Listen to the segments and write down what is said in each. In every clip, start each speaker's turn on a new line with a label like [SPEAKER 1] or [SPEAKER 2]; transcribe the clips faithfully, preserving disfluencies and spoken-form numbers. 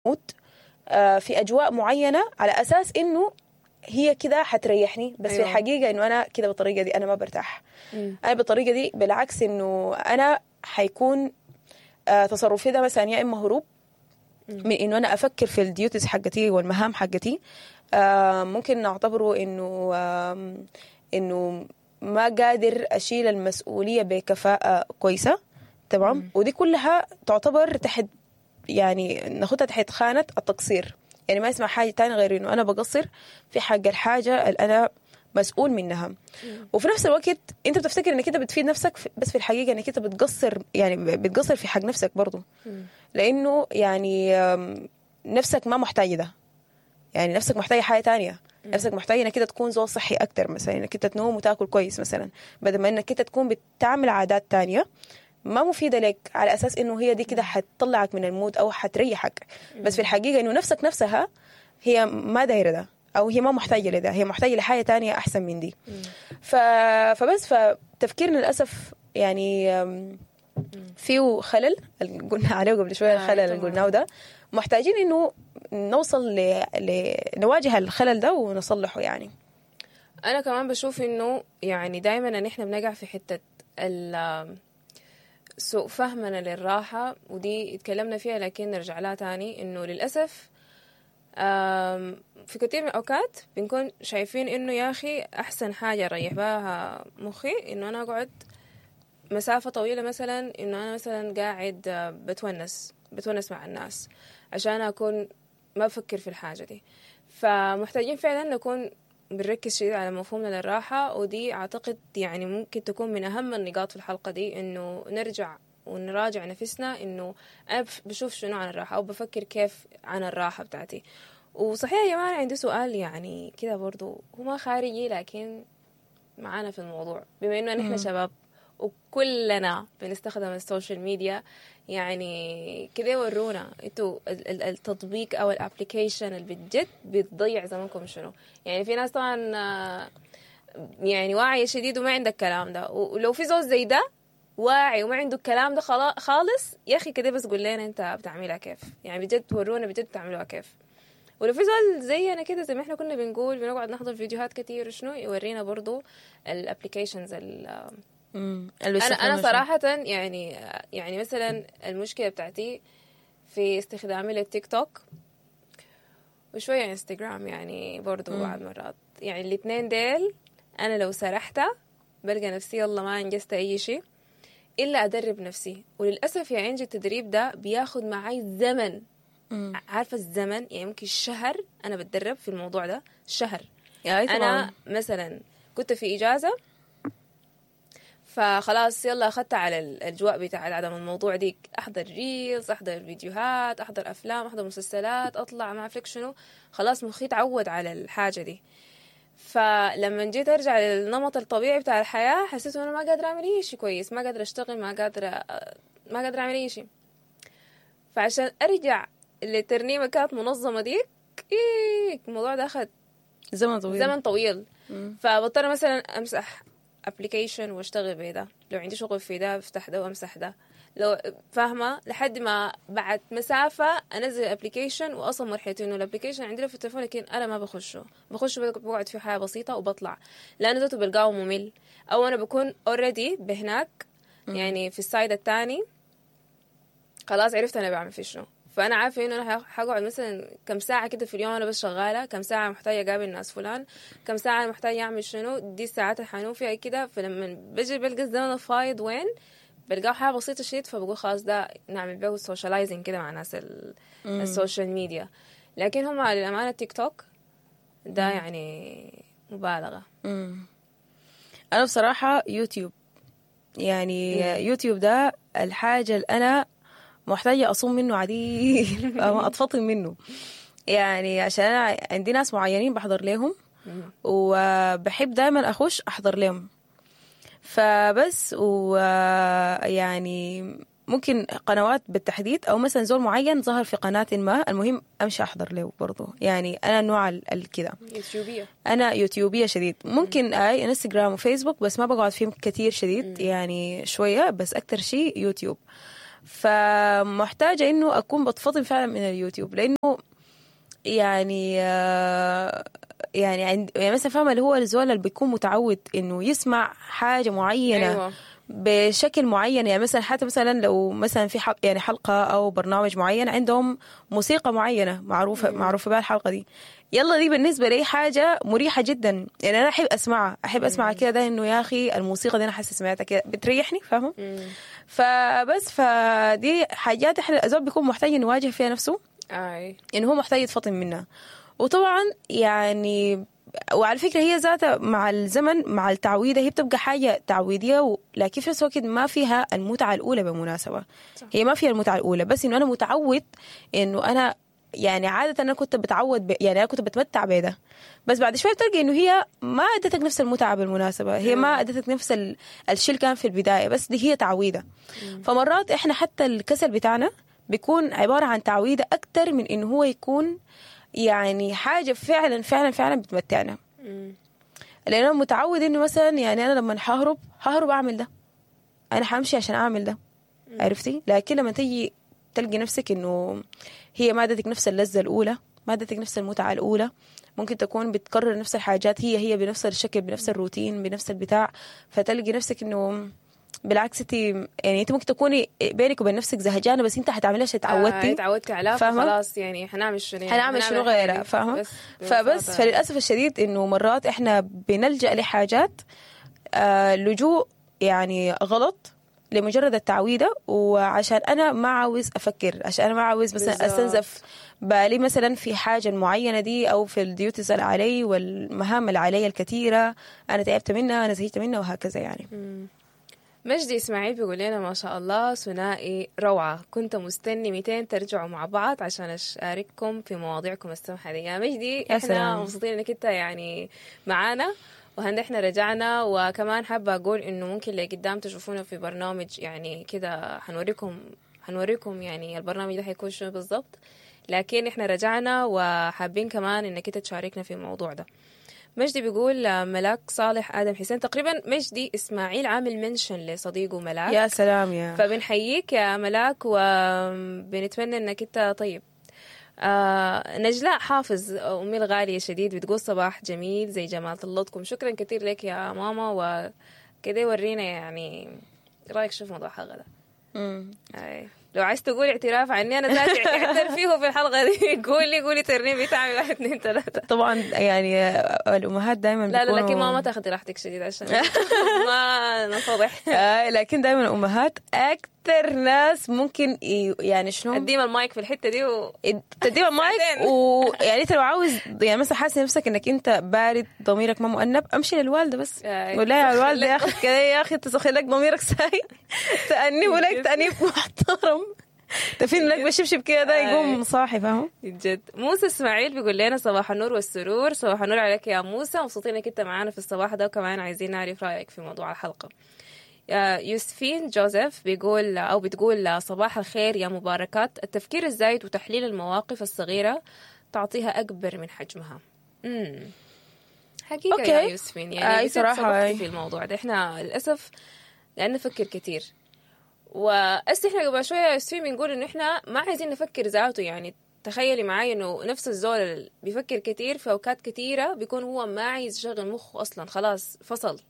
[SPEAKER 1] mood آه، في اجواء معينة على اساس انه هي كده حتريحني، بس أيوة. في الحقيقة انه انا كده بالطريقة دي انا ما برتاح.
[SPEAKER 2] مم.
[SPEAKER 1] انا بالطريقة دي بالعكس انه انا حيكون آه، تصرفي ده مثلا يا اما هروب من انه انا افكر في ال duties حقتي والمهام حقتي، آه، ممكن نعتبره انه آم، انه ما قادر اشيل المسؤولية بكفاءة كويسة، تمام؟ ودي كلها تعتبر تحت، يعني ناخدها تحت خانه التقصير. يعني ما اسمع حاجة تانية غير انه انا بقصر في حق الحاجة اللي انا مسؤول منها. وفي نفس الوقت انت بتفتكر انك انت بتفيد نفسك، بس في الحقيقة انك انت بتقصر، يعني بتقصر في حق نفسك برضو، لانه يعني آم، نفسك ما محتاجه ده، يعني نفسك محتاجه حاجة تانية. نفسك محتاجه انك انت تكون زول صحي اكتر مثلا، انك انت تنوم وتاكل كويس مثلا، بدل ما انك انت تكون بتعمل عادات تانية ما مفيدة لك على اساس انه هي دي كده حتطلعك من ال mood او حتريحك. بس في الحقيقة انه نفسك نفسها هي ما دايرة ده، او هي ما محتاجه لده، هي محتاجه لحاجة تانية احسن من دي. ف... فبس فتفكيرنا للاسف يعني أم، فيه خلل اللي قلنا عليه قبل شوية،
[SPEAKER 2] آه،
[SPEAKER 1] الخلل اللي
[SPEAKER 2] طبعاً.
[SPEAKER 1] قلناه ده محتاجين انه نوصل ل... ل... نواجه الخلل ده ونصلحه. يعني
[SPEAKER 2] انا كمان بشوف انه يعني دايما ان احنا بنقع في حتة ال سوء فهمنا للراحة، ودي اتكلمنا فيها لكن نرجع لها تاني، انه للأسف آم، في كثير من الأوقات بنكون شايفين انه يا اخي احسن حاجة اريح بها مخي انه انا اقعد مسافة طويلة، مثلا انه انا مثلا قاعد آه، بتونس بتونس مع الناس عشان اكون ما بفكر في الحاجة دي. فمحتاجين فعلا نكون بنركز شديد على مفهومنا للراحة، ودي أعتقد يعني ممكن تكون من أهم النقاط في الحلقة دي، إنه نرجع ونراجع نفسنا إنه أنا بف- بشوف شنو عن الراحة أو بفكر كيف عن الراحة بتاعتي. وصحيح يا جماعة عندي سؤال يعني كده برضو هو ما خارجي لكن معانا في الموضوع، بما إنه نحن شباب وكلنا بنستخدم ال social media، يعني كده ورونا انتوا ال- ال- التطبيق او ال application اللي بجد بتضيع زمنكم شنو. يعني في ناس طبعا آه، يعني واعية شديد وما عندك الكلام ده، ولو في زول زي ده واعي وما عنده الكلام ده خلا- خالص يا اخي كده بس قول لنا انت بتعملها كيف، يعني بجد ورونا بجد بتعملوها كيف. ولو في زول زينا كده زي ما احنا كنا بنقول بنقعد نحضر فيديوهات كتير وشنو، يورينا برضو ال applications. انا انا صراحة يعني يعني مثلا المشكلة بتاعتي في استخدامي للتيك توك وشوية انستغرام، يعني برضو بعض مرات، يعني الاثنين ديل انا لو سرحت بلقى نفسي يلا ما انجزت اي شيء الا ادرب نفسي. وللاسف يا انجي التدريب ده بياخد معي زمن، عارفه الزمن يعني ممكن شهر انا بتدرب في الموضوع ده شهر.
[SPEAKER 1] يعني
[SPEAKER 2] انا مثلا كنت في اجازه فخلاص يلا اخذت على الاجواء بتاع عدم الموضوع ديك، احضر reels، احضر فيديوهات، احضر افلام، احضر مسلسلات، اطلع ما اعرف شنو، خلاص مخي تعود على الحاجة دي. فلما جيت ارجع للنمط الطبيعي بتاع الحياة حسيت انه انا ما قادرة اعمل اي شيء كويس، ما قادرة اشتغل، ما قادرة ما قادرة اعمل اي شيء. فعشان ارجع للترنيمه كانت منظمة ديك، إيه الموضوع ده اخذ
[SPEAKER 1] زمن طويل،
[SPEAKER 2] زمن طويل. فبضطر مثلا امسح application واشتغل بده، لو عندي شغل في ده بفتح ده وامسح ده، لو فاهمه، لحد ما بعد مسافة انزل application. واصلا مرحلة انه ال application عندي في التليفون لكن انا ما بخشه، بخشه بقعد فيه حياة بسيطة وبطلع، لانه ذاته بلقاه ممل، او انا بكون already بهناك يعني في ال side الثاني خلاص عرفت انا بعمل في شنو. فانا عارفه انه انا حقعد مثلا كم ساعة كده في اليوم انا بس شغالة، كم ساعة محتاجه اقابل ناس فلان، كم ساعة محتاجه اعمل شنو، دي الساعات اللي حنوم فيها كده. فلما بجي بلقى الزمن الفايض وين بلقاه حاجة بسيطة شديد، فبقول خلاص ده نعمل بيه socializing كده مع ناس ال- ال social media. لكن هم للامانة التيك توك ده يعني مبالغه.
[SPEAKER 1] مم. انا بصراحة يوتيوب، يعني يوتيوب ده الحاجة اللي انا محتاجه اصوم منه عديل، ما اتفطم منه، يعني عشان انا عندي ناس معينين بحضر لهم وبحب دايما اخش احضر لهم. فبس ويعني ممكن قنوات بالتحديد او مثلا زول معين ظهر في قناة ما، المهم امشي احضر له برضه. يعني انا نوع الكده
[SPEAKER 2] يوتيوبيه،
[SPEAKER 1] انا يوتيوبيه شديد. ممكن اي انستغرام وفيسبوك بس ما بقعد فيهم كثير شديد، يعني شوية بس، اكثر شيء يوتيوب. فمحتاجه انه اكون بتفطم فعلا من اليوتيوب، لانه يعني آه، يعني عند يعني مثلا فاهمه اللي هو الزول اللي بيكون متعود انه يسمع حاجة معينة
[SPEAKER 2] أيوة.
[SPEAKER 1] بشكل معين، يعني مثلا حتى مثلا لو مثلا في حلقة يعني حلقة او برنامج معين عندهم موسيقى معينة معروفة معروفة بها الحلقة دي، يلا دي بالنسبة لي حاجة مريحه جدا، يعني انا احب اسمعها، احب اسمع كده ده انه يا اخي الموسيقى دي انا حاسه سمعتها كده بتريحني، فاهمه؟ فبس فدي حاجات احنا الزول بيكون محتاج انه يواجه فيها نفسه،
[SPEAKER 2] اي
[SPEAKER 1] انه هو محتاج يتفطن منها. وطبعا يعني وعلى فكرة هي ذاتها مع الزمن مع التعويده هي بتبقى حاجة تعويديه، و- لكن في نفس الوقت ما فيها المتعة الاولى بالمناسبة.
[SPEAKER 2] صح.
[SPEAKER 1] هي ما فيها المتعة الاولى، بس انه انا متعود انه انا يعني عادة انا كنت بتعود ب... يعني انا كنت بتمتع بده، بس بعد شوية بتلقى انه هي ما ادتك نفس المتعة بالمناسبة، هي ما ادتك نفس ال... الشيء اللي كان في البداية، بس دي هي تعويده. فمرات احنا حتى الكسل بتاعنا بيكون عبارة عن تعويده اكثر من انه هو يكون يعني حاجة فعلا فعلا فعلا بتمتعنا. لان انا متعود انه مثلا يعني انا لما ههرب ههرب اعمل ده، انا حامشي عشان اعمل ده، عرفتي؟ لكن لما تيجي تلقي نفسك انه هي ما ادتك نفس اللذة الاولى، ما ادتك نفس المتعة الاولى، ممكن تكون بتكرر نفس الحاجات هي هي بنفس الشكل بنفس الروتين بنفس البتاع، فتلقي نفسك انه بالعكس انت يعني انت ممكن تكوني بينك وبين نفسك زهجانه، بس انت حتعمليها عشان اتعودتي.
[SPEAKER 2] آه، اتعودتي عليها،
[SPEAKER 1] فاهمة؟
[SPEAKER 2] فخلاص يعني حنعمل شنو يعني
[SPEAKER 1] حنعمل شنو غيرها، فاهمه؟
[SPEAKER 2] بس
[SPEAKER 1] فبس
[SPEAKER 2] ببساطة.
[SPEAKER 1] فللاسف الشديد انه مرات احنا بنلجا لحاجات آه لجوء يعني غلط لمجرد التعويده، وعشان انا ما عاوز افكر، عشان انا ما عاوز مثلا
[SPEAKER 2] بالظبط.
[SPEAKER 1] استنزف بالي مثلا في حاجة معينة دي او في ال duties اللي علي والمهام اللي علي الكثيرة، انا تعبت منها، انا زهقت منها، وهكذا يعني.
[SPEAKER 2] مجدي اسماعيل بيقول لنا ما شاء الله ثنائي روعة، كنت مستني ميتين ترجعوا مع بعض عشان أشارككم في مواضيعكم السمحة دي. يا مجدي
[SPEAKER 1] يا
[SPEAKER 2] احنا
[SPEAKER 1] سلام.
[SPEAKER 2] مبسوطين انك انت يعني معانا، وهند احنا رجعنا. وكمان حابة اقول انه ممكن لقدام تشوفونا في برنامج يعني كده، حنوريكم حنوريكم يعني البرنامج ده حيكون شنو بالضبط، لكن احنا رجعنا وحابين كمان انك انت تشاركنا في الموضوع ده. مجدي بيقول آه، ملاك صالح آدم حسين، تقريبا مجدي إسماعيل عامل mention لصديقه ملاك.
[SPEAKER 1] يا سلام يا
[SPEAKER 2] فبنحييك يا ملاك وبنتمنى انك انت طيب. آه نجلاء حافظ امي الغالية شديد بتقول صباح جميل زي جمال طلتكم، شكرا كثير لك يا ماما، وكده ورينا يعني رايك شو في موضوع الحلقة ده.
[SPEAKER 1] مم.
[SPEAKER 2] أي. لو عايز تقول اعتراف عني انا ذاتي اعترف فيه في الحلقة دي، قولي قولي ترنيم بتعمل واحد اثنين ثلاثة.
[SPEAKER 1] طبعا يعني الامهات دائما
[SPEAKER 2] لا لا لكن ماما تاخذي راحتك شديد عشان ما نفضح.
[SPEAKER 1] آه لكن دائما الامهات اكثر ناس ممكن ي- يعني شنو
[SPEAKER 2] اديهم المايك في الحتة دي و...
[SPEAKER 1] تديها المايك،
[SPEAKER 2] ساعتين.
[SPEAKER 1] ويعني انت لو عاوز يعني مثلا حاسس نفسك انك انت بارد ضميرك ما مؤنب، امشي للوالده بس
[SPEAKER 2] آي.
[SPEAKER 1] قول لها يا الوالدة يا اخي كده يا اخي تسخن لك ضميرك ساي، تأنيب لك تأنيب محترم، تفين لك بشبشب كده ده يقوم صاحي، فاهم؟
[SPEAKER 2] جد. موسى اسماعيل بيقول لنا صباح النور والسرور، صباح النور عليك يا موسى، مبسوطين انك انت معانا في الصباح ده، وكمان عايزين نعرف رايك في موضوع الحلقة. آه، يوسفين جوزيف بيقول او بتقول صباح الخير يا مباركات، التفكير الزايد وتحليل المواقف الصغيرة تعطيها اكبر من حجمها. امم حقيقة
[SPEAKER 1] okay.
[SPEAKER 2] يا يوسفين، يعني
[SPEAKER 1] آي
[SPEAKER 2] بجد
[SPEAKER 1] صراحة،
[SPEAKER 2] صدقتي
[SPEAKER 1] آي.
[SPEAKER 2] في الموضوع ده، احنا للاسف لان نفكر كثير، وأس احنا قبل شوية يا يوسفين بنقول انه احنا ما عايزين نفكر ذاته، يعني تخيلي معاي انه نفس الزول اللي بيفكر كثير في اوقات كثيرة بيكون هو ما عايز يشغل مخه اصلا، خلاص فصل.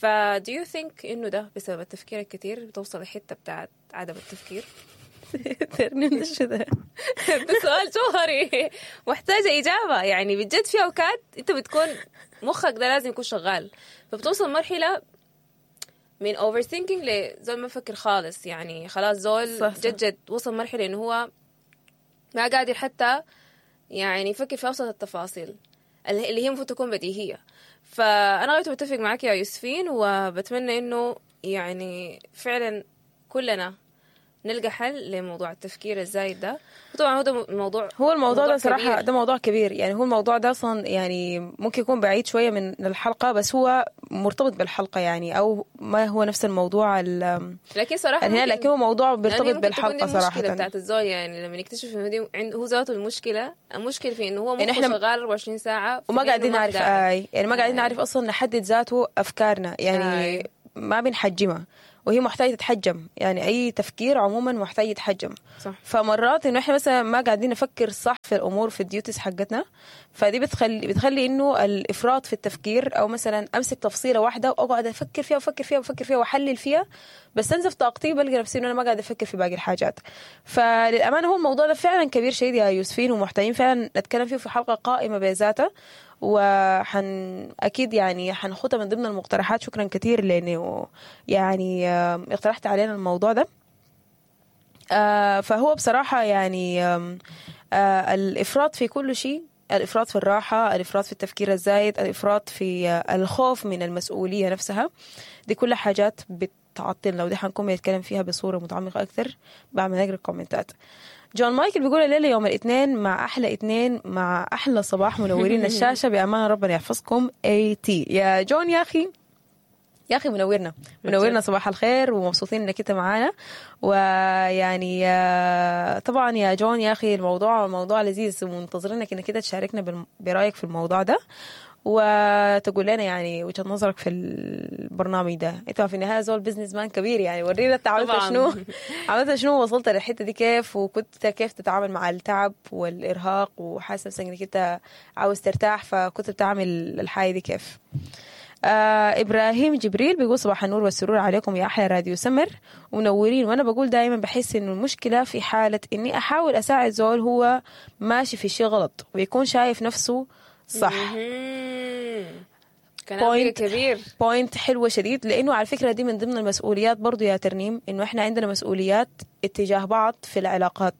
[SPEAKER 2] ف do you think انه ده بسبب التفكير الكثير بتوصل لحته بتاعت عدم التفكير؟
[SPEAKER 1] ترنيم ده شو ده؟
[SPEAKER 2] ده سؤال جوهري محتاجة إجابة، يعني بجد في أوقات أنت بتكون مخك ده لازم يكون شغال، فبتوصل مرحلة من overthinking لزول ما بفكر خالص، يعني خلاص زول
[SPEAKER 1] صح، صح.
[SPEAKER 2] جد جد وصل مرحلة إنه هو ما قادر حتى يعني يفكر في أبسط التفاصيل اللي اللي هي المفروض تكون بديهية. فأنا غايته بتفق معك يا يوسفين، وبتمنى إنه يعني فعلا كلنا نلقى حل لموضوع التفكير الزايد ده. وطبعا هو ده موضوع
[SPEAKER 1] هو الموضوع
[SPEAKER 2] موضوع
[SPEAKER 1] ده صراحة
[SPEAKER 2] كبير.
[SPEAKER 1] ده موضوع كبير، يعني هو الموضوع ده أصلا يعني ممكن يكون بعيد شوية من الحلقة، بس هو مرتبط بالحلقة يعني، أو ما هو نفس الموضوع ال-
[SPEAKER 2] لكن صراحة
[SPEAKER 1] هنا،
[SPEAKER 2] ممكن-
[SPEAKER 1] لكن هو موضوع
[SPEAKER 2] لأن
[SPEAKER 1] بيرتبط
[SPEAKER 2] ممكن تكون دي
[SPEAKER 1] بالحلقة
[SPEAKER 2] المشكلة
[SPEAKER 1] صراحة.
[SPEAKER 2] بتاعت الزول، يعني لما يكتشف انه دي عند هو ذاته المشكلة، المشكلة في انه هو
[SPEAKER 1] إن
[SPEAKER 2] مخه
[SPEAKER 1] إحنا
[SPEAKER 2] شغال أربعة وعشرين ساعة
[SPEAKER 1] وما
[SPEAKER 2] في إنه
[SPEAKER 1] قاعدين
[SPEAKER 2] ما في
[SPEAKER 1] نعرف
[SPEAKER 2] داعي.
[SPEAKER 1] آي يعني ما قاعدين
[SPEAKER 2] آي.
[SPEAKER 1] نعرف أصلا نحدد ذاته أفكارنا، يعني
[SPEAKER 2] آي.
[SPEAKER 1] ما بنحجمها، وهي محتاجه تتحجم، يعني اي تفكير عموما محتاج يتحجم.
[SPEAKER 2] صح.
[SPEAKER 1] فمرات انه احنا مثلا ما قاعدين نفكر صح في الامور في ال duties حقتنا، فدي بتخلي بتخلي انه الافراط في التفكير، او مثلا امسك تفصيله واحدة واقعد افكر فيها وافكر فيها وافكر فيها واحلل فيها، بستنزف طاقتي، بلقى نفسي انه انا ما قاعدة افكر في باقي الحاجات. فللامانه هو الموضوع ده فعلا كبير شديد يا يوسفين، ومحتاجين فعلا نتكلم فيه في حلقة قائمة بذاتها، وحن اكيد يعني حنخدها من ضمن المقترحات. شكرا كثير لانه يعني آه، اقترحت علينا الموضوع ده. آه، فهو بصراحة يعني آم، آه، الإفراط في كل شيء، الإفراط في الراحة، الإفراط في التفكير الزايد، الإفراط في آه، الخوف من المسؤولية نفسها، دي كلها حاجات بتعطلنا، ودي حنكون بنتكلم فيها بصورة متعمقة أكثر بعد ما نقرأ الكومنتات. جون مايكل بيقول الليلة يوم الاثنين مع أحلى اثنين مع أحلى صباح، منورين الشاشة بأمان، ربنا يحفظكم. اي تي يا جون، يا أخي يا اخي منورنا منورنا، صباح الخير ومبسوطين انك انت معانا. ويعني آه، طبعا يا جون يا اخي الموضوع موضوع لذيذ، ومنتظرينك انك انت تشاركنا بالم- برايك في الموضوع ده، وتقول لنا يعني وجهة نظرك في البرنامج ده. انت في النهاية زول businessman كبير، يعني ورينا انت عملت
[SPEAKER 2] طبعاً.
[SPEAKER 1] شنو، عملت شنو، وصلت للحتة دي كيف، وكنت كيف تتعامل مع التعب والارهاق، وحاسس نفسك انك انت عاوز ترتاح، فكنت بتعمل الحاجة دي كيف. آه ابراهيم جبريل بيقول صباح النور والسرور عليكم يا احلى راديو سمر ومنورين. وانا بقول دائما بحس انه المشكلة في حاله اني احاول اساعد زول هو ماشي في شيء غلط ويكون شايف نفسه صح.
[SPEAKER 2] مهم. كلام
[SPEAKER 1] Point.
[SPEAKER 2] كبير.
[SPEAKER 1] point حلوة شديد، لانه على فكرة دي من ضمن المسؤوليات برضو يا ترنيم، انه احنا عندنا مسؤوليات اتجاه بعض في العلاقات.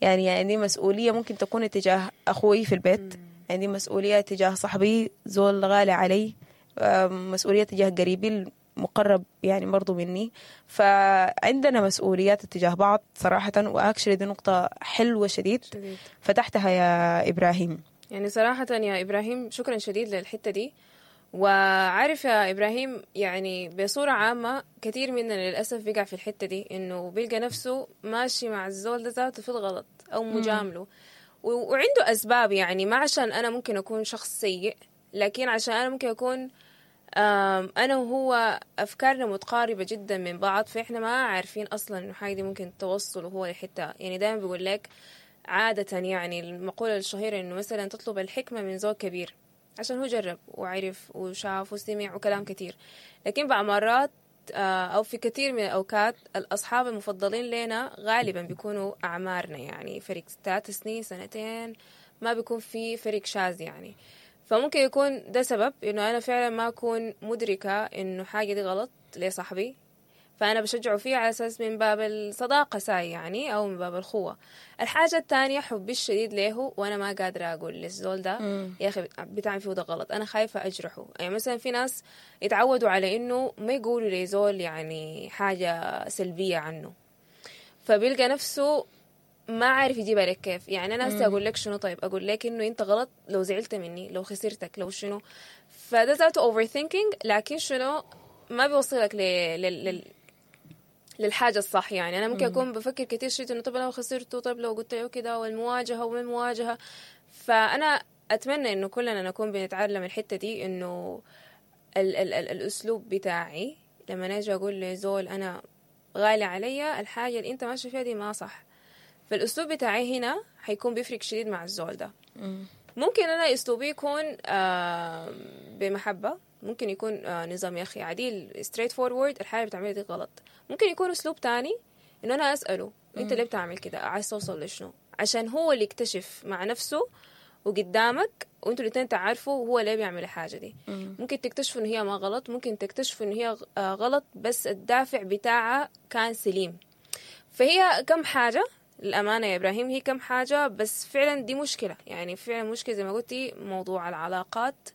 [SPEAKER 1] يعني عندي مسؤولية ممكن تكون اتجاه اخوي في البيت، عندي مسؤولية تجاه صاحبي زول غالي علي، أم، مسؤولية تجاه قريبي المقرب يعني برضو مني. فعندنا مسؤوليات اتجاه بعض صراحة، و actually دي نقطة حلوة شديد
[SPEAKER 2] شديد.
[SPEAKER 1] فتحتها يا إبراهيم.
[SPEAKER 2] يعني صراحة يا إبراهيم شكرا شديد للحتة دي. وعارف يا إبراهيم يعني بصورة عامة كثير مننا للأسف بيقع في الحتة دي، إنه بيلقى نفسه ماشي مع الزول ده ذاته في الغلط أو مجاملة، و- وعنده أسباب. يعني ما عشان أنا ممكن أكون شخص سيء، لكن عشان أنا ممكن أكون آم، أنا وهو أفكارنا متقاربة جدا من بعض، فإحنا ما عارفين أصلا إنه حاجة دي ممكن توصل وهو لحتة. يعني دائما بيقول لك عادة يعني المقولة الشهيرة إنه مثلا تطلب الحكمة من زول كبير عشان هو جرب وعرف وشاف وسمع وكلام كتير. لكن بعض مرات آه، أو في كثير من الأوقات الأصحاب المفضلين لنا غالبا بيكونوا أعمارنا، يعني فرق ثلاث سنين سنتين، ما بيكون في فرق شاذ يعني. فممكن يكون ده سبب إنه أنا فعلا ما أكون مدركة إنه حاجة دي غلط لصاحبي، فأنا بشجعه فيه على أساس من باب الصداقة ساي يعني، أو من باب الخوة. الحاجة الثانية حبي الشديد له، وأنا ما قادرة أقول للزول ده يا أخي بتعمل فيه ده غلط، أنا خايفة أجرحه. يعني مثلا في ناس يتعودوا على إنه ما يقولوا لزول يعني حاجة سلبية عنه، فبيلقى نفسه ما عارف يجيبها لك كيف. يعني انا هسه اقول لك شنو؟ طيب اقول لك انه انت غلط لو زعلت مني، لو خسرتك، لو شنو، فده ذاته overthinking. لكن شنو ما بيوصلك ل... لل... لل... للحاجة الصح. يعني أنا ممكن أكون بفكر كتير شيء إنه طب لو خسرته، طب لو قلت له كده، والمواجهة وما المواجهة. فأنا أتمنى إنه كلنا نكون بنتعلم الحتة دي، إنه ال ال ال الأسلوب بتاعي لما أجي أقول لزول أنا غالي عليا الحاجة اللي أنت ماشي فيها دي ما صح، فالأسلوب بتاعي هنا حيكون بيفرق شديد مع الزول ده. ممكن أنا أسلوبي يكون آه بمحبة، ممكن يكون آه نظام يا أخي عديل straightforward، الحاجة اللي بتعملها دي غلط. ممكن يكون أسلوب تاني إنه أنا أسأله أنت ليه بتعمل كده، عايز توصل لشنو، عشان هو اللي يكتشف مع نفسه وقدامك وانتوا الاثنين تعرفوا هو ليه بيعمل الحاجة دي. ممكن تكتشفوا إن هي ما غلط، ممكن تكتشفوا إن هي آه غلط بس الدافع بتاعها كان سليم. فهي كم حاجة للأمانة يا إبراهيم، هي كم حاجة بس فعلا دي مشكلة. يعني فعلا مشكلة زي ما قلتي، موضوع العلاقات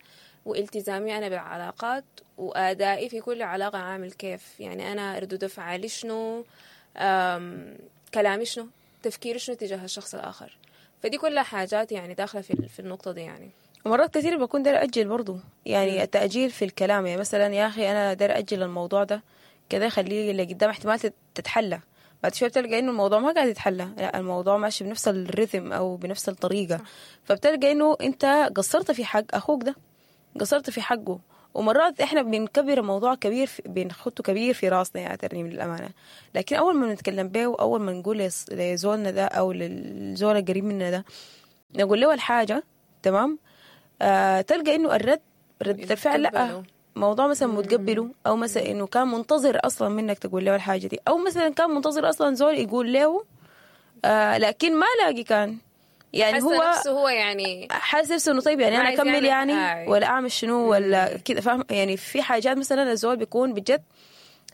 [SPEAKER 2] والتزامي أنا بالعلاقات وأدائي في كل علاقة عامل كيف. يعني أنا ردود أفعالي شنو، أم، كلامي شنو، تفكيري شنو تجاه الشخص الآخر. فدي كلها حاجات يعني داخلة في في النقطة دي يعني.
[SPEAKER 1] ومرات كثير بكون داير أجل برضو، يعني التأجيل في الكلام. يعني مثلا يا أخي أنا داير أجل الموضوع ده كده، خليه اللي قدام احتمال تت- تتحلى. بعد شوية بتلقى إنه الموضوع ما قاعد يتحلى، لا الموضوع ماشي بنفس الريتم أو بنفس الطريقة. فبتلقى إنه أنت قصرت في حق أخوك ده، قصرت في حقه، ومرات احنا بنكبر الموضوع كبير في بنخطه كبير في راسنا يا ترنيم للامانة، لكن اول ما نتكلم به واول ما نقول لس- لزولنا ده او للزول القريب منا ده نقول له الحاجة، تمام، آه تلقى انه الرد رد الفعل لا
[SPEAKER 2] يتقبله.
[SPEAKER 1] موضوع مثلا متقبله، او مثلا انه كان منتظر اصلا منك تقول له الحاجة دي، او مثلا كان منتظر اصلا زول يقول له آه لكن ما لاقي، كان يعني
[SPEAKER 2] حاسة
[SPEAKER 1] هو
[SPEAKER 2] نفسه هو يعني
[SPEAKER 1] حاسس نفسه انه طيب يعني
[SPEAKER 2] ما
[SPEAKER 1] انا
[SPEAKER 2] عايز
[SPEAKER 1] اكمل
[SPEAKER 2] يعمل-
[SPEAKER 1] يعني
[SPEAKER 2] آي.
[SPEAKER 1] ولا اعمل شنو ولا كده، فاهم يعني؟ في حاجات مثلا الزول بيكون بجد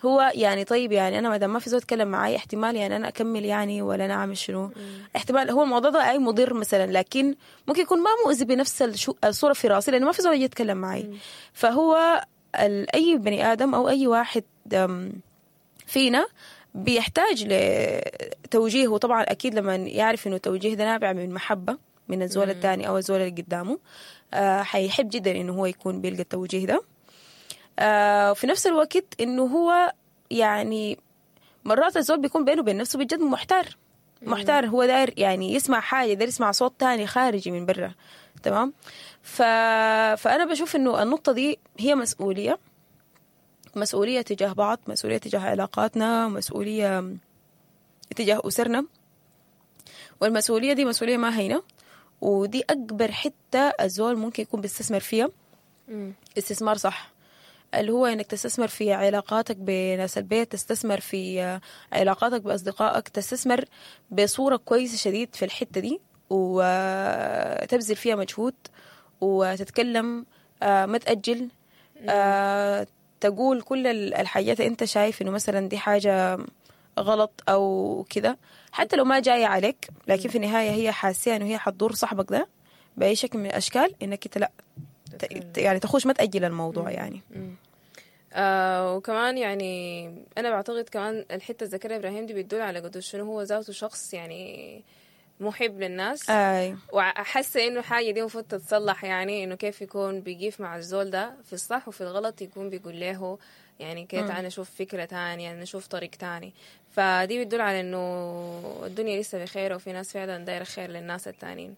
[SPEAKER 1] هو يعني طيب يعني انا ما دام ما في زول يتكلم معي احتمال يعني انا اكمل يعني ولا انا اعمل شنو، احتمال هو الموضوع ده اي مضر مثلا، لكن ممكن يكون ما مؤذي بنفس الشو- الصورة في راسي لانه ما في زول يجي يتكلم معي. فهو ال- اي بني ادم او اي واحد أم، فينا بيحتاج لتوجيه، وطبعا اكيد لما يعرف انه التوجيه ده نابع من محبة من الزول الثاني او الزول اللي قدامه، آه حيحب جدا انه هو يكون بيلقى التوجيه ده. آه وفي نفس الوقت انه هو يعني مرات الزول بيكون بينه وبين نفسه بجد محتار، محتار، هو داير يعني يسمع حاجة، داير يسمع صوت تاني خارجي من برا، تمام. ف... فانا بشوف انه النقطة دي هي مسؤولية، مسؤولية تجاه بعض، مسؤولية تجاه علاقاتنا، مسؤولية تجاه أسرنا، والمسؤولية دي مسؤولية ما هينة، ودي أكبر حتة الزول ممكن يكون بيستثمر فيها
[SPEAKER 2] مم.
[SPEAKER 1] استثمار صح، اللي هو انك تستثمر في علاقاتك بناس البيت، تستثمر في علاقاتك بأصدقائك، تستثمر بصورة كويسة شديد في الحتة دي، وتبذل فيها مجهود وتتكلم، آه، ما تأجل، آه، تقول كل ال- الحاجات اللي انت شايف انه مثلا دي حاجة غلط او كده، حتى لو ما جاية عليك، لكن في النهاية هي حاسة انه هي حتضر صاحبك ده بأي شكل من الأشكال، انك انت لا ت- يعني تخش ما تأجل الموضوع يعني.
[SPEAKER 2] آه وكمان يعني انا بعتقد كمان الحتة اللي ذكرها ابراهيم دي بتدل على قد شنو هو ذاته شخص يعني محب للناس،
[SPEAKER 1] اي
[SPEAKER 2] وحاسه انه حاجة دي المفروض تتصلح، يعني انه كيف يكون بيقيف مع الزول ده في الصح وفي الغلط، يكون بيقول له يعني كده تعال نشوف فكرة تانية، نشوف طريق تاني. فدي بتدل على انه الدنيا لسه بخير وفي ناس فعلا دايرة خير للناس التانيين.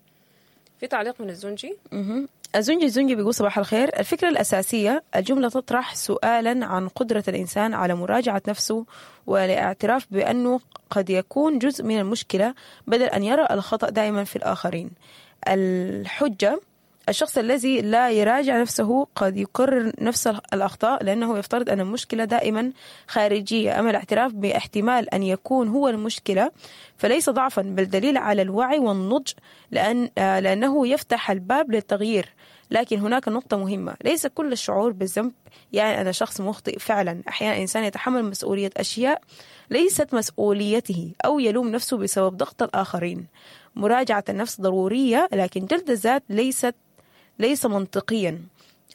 [SPEAKER 2] في تعليق من الزنجي.
[SPEAKER 1] مهم. الزنجي الزنجي بيقول صباح الخير، الفكرة الأساسية الجملة تطرح سؤالا عن قدرة الإنسان على مراجعة نفسه والاعتراف بأنه قد يكون جزء من المشكلة بدل أن يرى الخطأ دائما في الآخرين. الحجة الشخص الذي لا يراجع نفسه قد يكرر نفس الأخطاء لأنه يفترض أن المشكلة دائما خارجية، أما الاعتراف باحتمال أن يكون هو المشكلة فليس ضعفا بل دليل على الوعي والنضج، لأن آه، لأنه يفتح الباب للتغيير. لكن هناك نقطة مهمة، ليس كل الشعور بالذنب يعني أنا شخص مخطئ فعلا، أحيانا الإنسان يتحمل مسؤولية أشياء ليست مسؤوليته أو يلوم نفسه بسبب ضغط الآخرين. مراجعة النفس ضرورية، لكن جلد الذات ليست ليس منطقيا.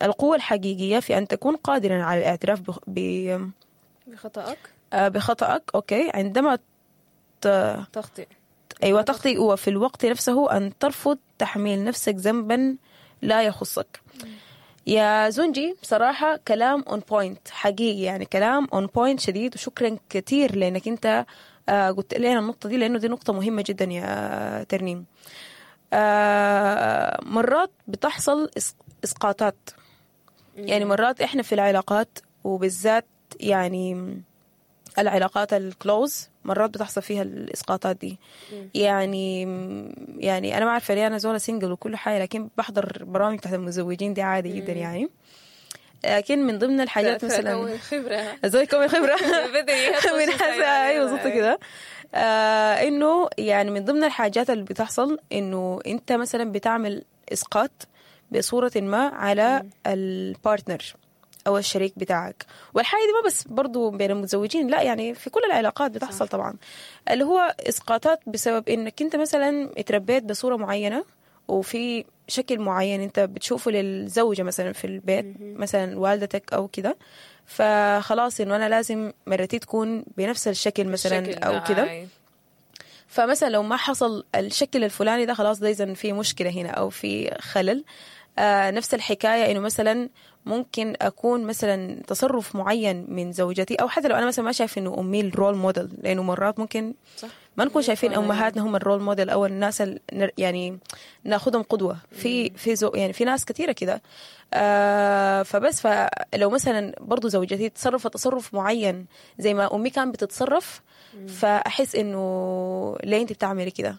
[SPEAKER 1] القوة الحقيقية في أن تكون قادرا على الاعتراف بخ- ب-
[SPEAKER 2] بخطأك
[SPEAKER 1] آه، بخطأك، okay، عندما ت...
[SPEAKER 2] تخطئ
[SPEAKER 1] أيوة تخطئ، وفي الوقت نفسه أن ترفض تحميل نفسك ذنبا لا يخصك. يا زنجي بصراحة كلام on point حقيقي، يعني كلام on point شديد، وشكرا كثير لأنك أنت آه، قلت لنا النقطة دي، لأنه دي نقطة مهمة جدا يا ترنيم. آه، مرات بتحصل إس- إسقاطات، يعني مرات إحنا في العلاقات وبالذات يعني العلاقات ال close مرات بتحصل فيها الاسقاطات دي. يعني يعني انا ما عارفه ليه انا زوله single وكل حاجة، لكن بحضر برامج تحت المتزوجين دي عادي جدا يعني. لكن من ضمن الحاجات مثلا
[SPEAKER 2] تكون خبرة
[SPEAKER 1] زي كومي خبره
[SPEAKER 2] بدري
[SPEAKER 1] من حسا ايوه بالظبط كده. آه انه يعني من ضمن الحاجات اللي بتحصل انه انت مثلا بتعمل اسقاط بصورة ما على ال partner او الشريك بتاعك، والحاجة دي ما بس برضو بين المتزوجين، لا يعني في كل العلاقات بتحصل طبعا، اللي هو اسقاطات بسبب انك انت مثلا اتربيت بصورة معينة وفي شكل معين انت بتشوفه للزوجة مثلا في البيت مثلا والدتك او كده، فخلاص انه انا لازم مرتي تكون بنفس الشكل مثلا او كده. فمثلا لو ما حصل الشكل الفلاني ده خلاص ده اذا في مشكلة هنا او في خلل. آه نفس الحكاية انه مثلا ممكن اكون مثلا تصرف معين من زوجتي، او حتى لو انا مثلا ما شايف انه امي ال role model، لانه مرات ممكن
[SPEAKER 2] صح
[SPEAKER 1] ما نكون شايفين امهاتنا هم ال role model او الناس ال يعني ناخذهم قدوة في في زو يعني في ناس كثيرة كده. آه فبس فلو مثلا برضو زوجتي تصرفت تصرف معين زي ما امي كان بتتصرف، فاحس انه ليه انت بتعملي كده؟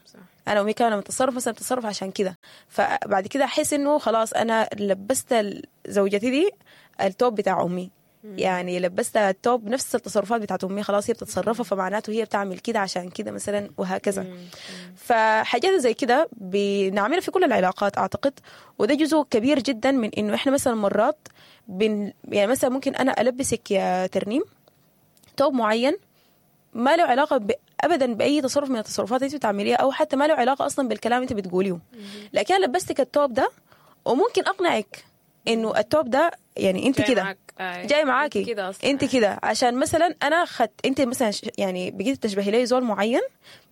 [SPEAKER 1] انا امي كانت بتتصرف مثلا بتتصرف عشان كده، فبعد كده احس انه خلاص انا لبست زوجتي دي التوب بتاع امي، يعني لبستها التوب نفس التصرفات بتاعت امي، خلاص هي بتتصرفها فمعناته هي بتعمل كده عشان كده مثلا، وهكذا. فحاجات زي كده بنعملها في كل العلاقات اعتقد، وده جزء كبير جدا من انه احنا مثلا مرات بن يعني مثلا ممكن انا البسك يا ترنيم توب معين ما له علاقة ب... ابدا باي تصرف من التصرفات اللي انت بتعمليها، او حتى ما له علاقة اصلا بالكلام اللي انت بتقوليه، لكن انا لبستك التوب ده وممكن اقنعك انه التوب ده يعني انت كده جاي معاكي انت كده، عشان مثلا انا خدت انت مثلا يعني بقيت تشبهي لي زول معين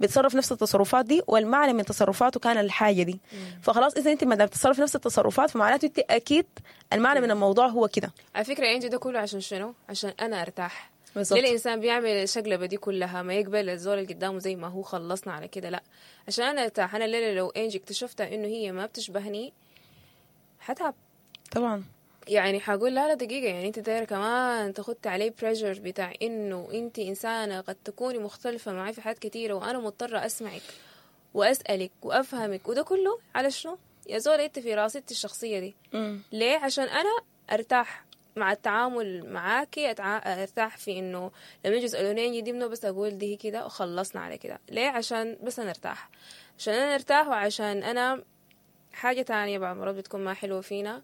[SPEAKER 1] بيتصرف نفس التصرفات دي، والمعنى من تصرفاته كان الحاجة دي. مم. فخلاص اذا انت ما دام بتتصرف نفس التصرفات فمعناته انت اكيد المعنى من الموضوع هو كده.
[SPEAKER 2] على فكرة انت ده كله عشان شنو؟ عشان انا ارتاح. ليه الانسان بيعمل الشقلبه دي كلها؟ ما يقبل الزول اللي قدامه زي ما هو، خلصنا على كده. لا، عشان انا ارتاح. انا الليلة لو انجي اكتشفتها انه هي ما بتشبهني حتعب
[SPEAKER 1] طبعا،
[SPEAKER 2] يعني حقول لا لا دقيقة، يعني انت دايرة كمان تاخدت عليه pressure بتاع انه انت انسانة قد تكوني مختلفة معي في حاجات كتيرة، وانا مضطرة اسمعك واسألك وافهمك، وده كله على شنو يا زول؟ انت في راسي الشخصية دي.
[SPEAKER 1] م.
[SPEAKER 2] ليه؟ عشان انا ارتاح مع التعامل معاكي، ارتاح في انه لما يجوا يسألوني دي منو بس اقول دي كده وخلصنا على كده. ليه؟ عشان بس انا ارتاح، عشان انا ارتاح، وعشان انا حاجة تانية بعض المرات بتكون ما حلوة فينا،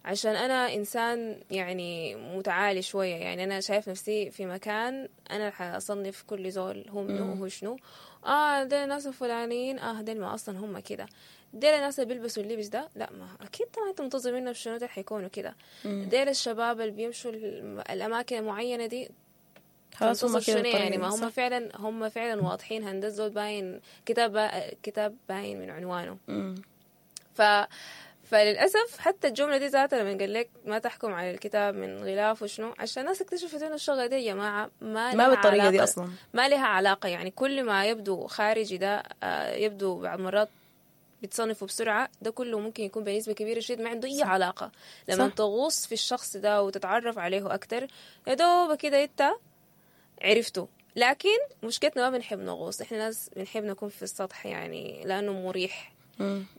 [SPEAKER 2] عشان أنا إنسان يعني متعالي شوية، يعني أنا شايف نفسي في مكان أنا حأصنف كل زول هو منو وهو شنو. آه ديل الناس الفلانيين، آه ديل ما أصلا هم كده، ديل الناس اللي بيلبسوا اللبس ده، لا ما أكيد طبعا أنت منتظر منهم شنو ده حيكونوا كده. ديل الشباب اللي بيمشوا الأماكن المعينة دي
[SPEAKER 1] خلاص هم كده،
[SPEAKER 2] يعني ما هم فعلا هم فعلا واضحين، هندسة زول باين كتاب كتاب باين من عنوانه. ف فللأسف حتى الجملة دي ذاتها لما قال لك ما تحكم على الكتاب من غلاف وشنو، عشان الناس اكتشفت إنه الشغلة دي يا جماعة ما
[SPEAKER 1] ما بالطريقة دي أصلا،
[SPEAKER 2] ما لها علاقة. يعني كل ما يبدو خارجي ده يبدو بعض مرات بتصنفه بسرعة، ده كله ممكن يكون بنسبة كبيرة شديد ما عنده أي علاقة. لما تغوص في الشخص ده وتتعرف عليه أكتر يا دوب كده أنت عرفته. لكن مشكلتنا ما بنحب نغوص، إحنا ناس بنحب نكون في السطح، يعني لأنه مريح.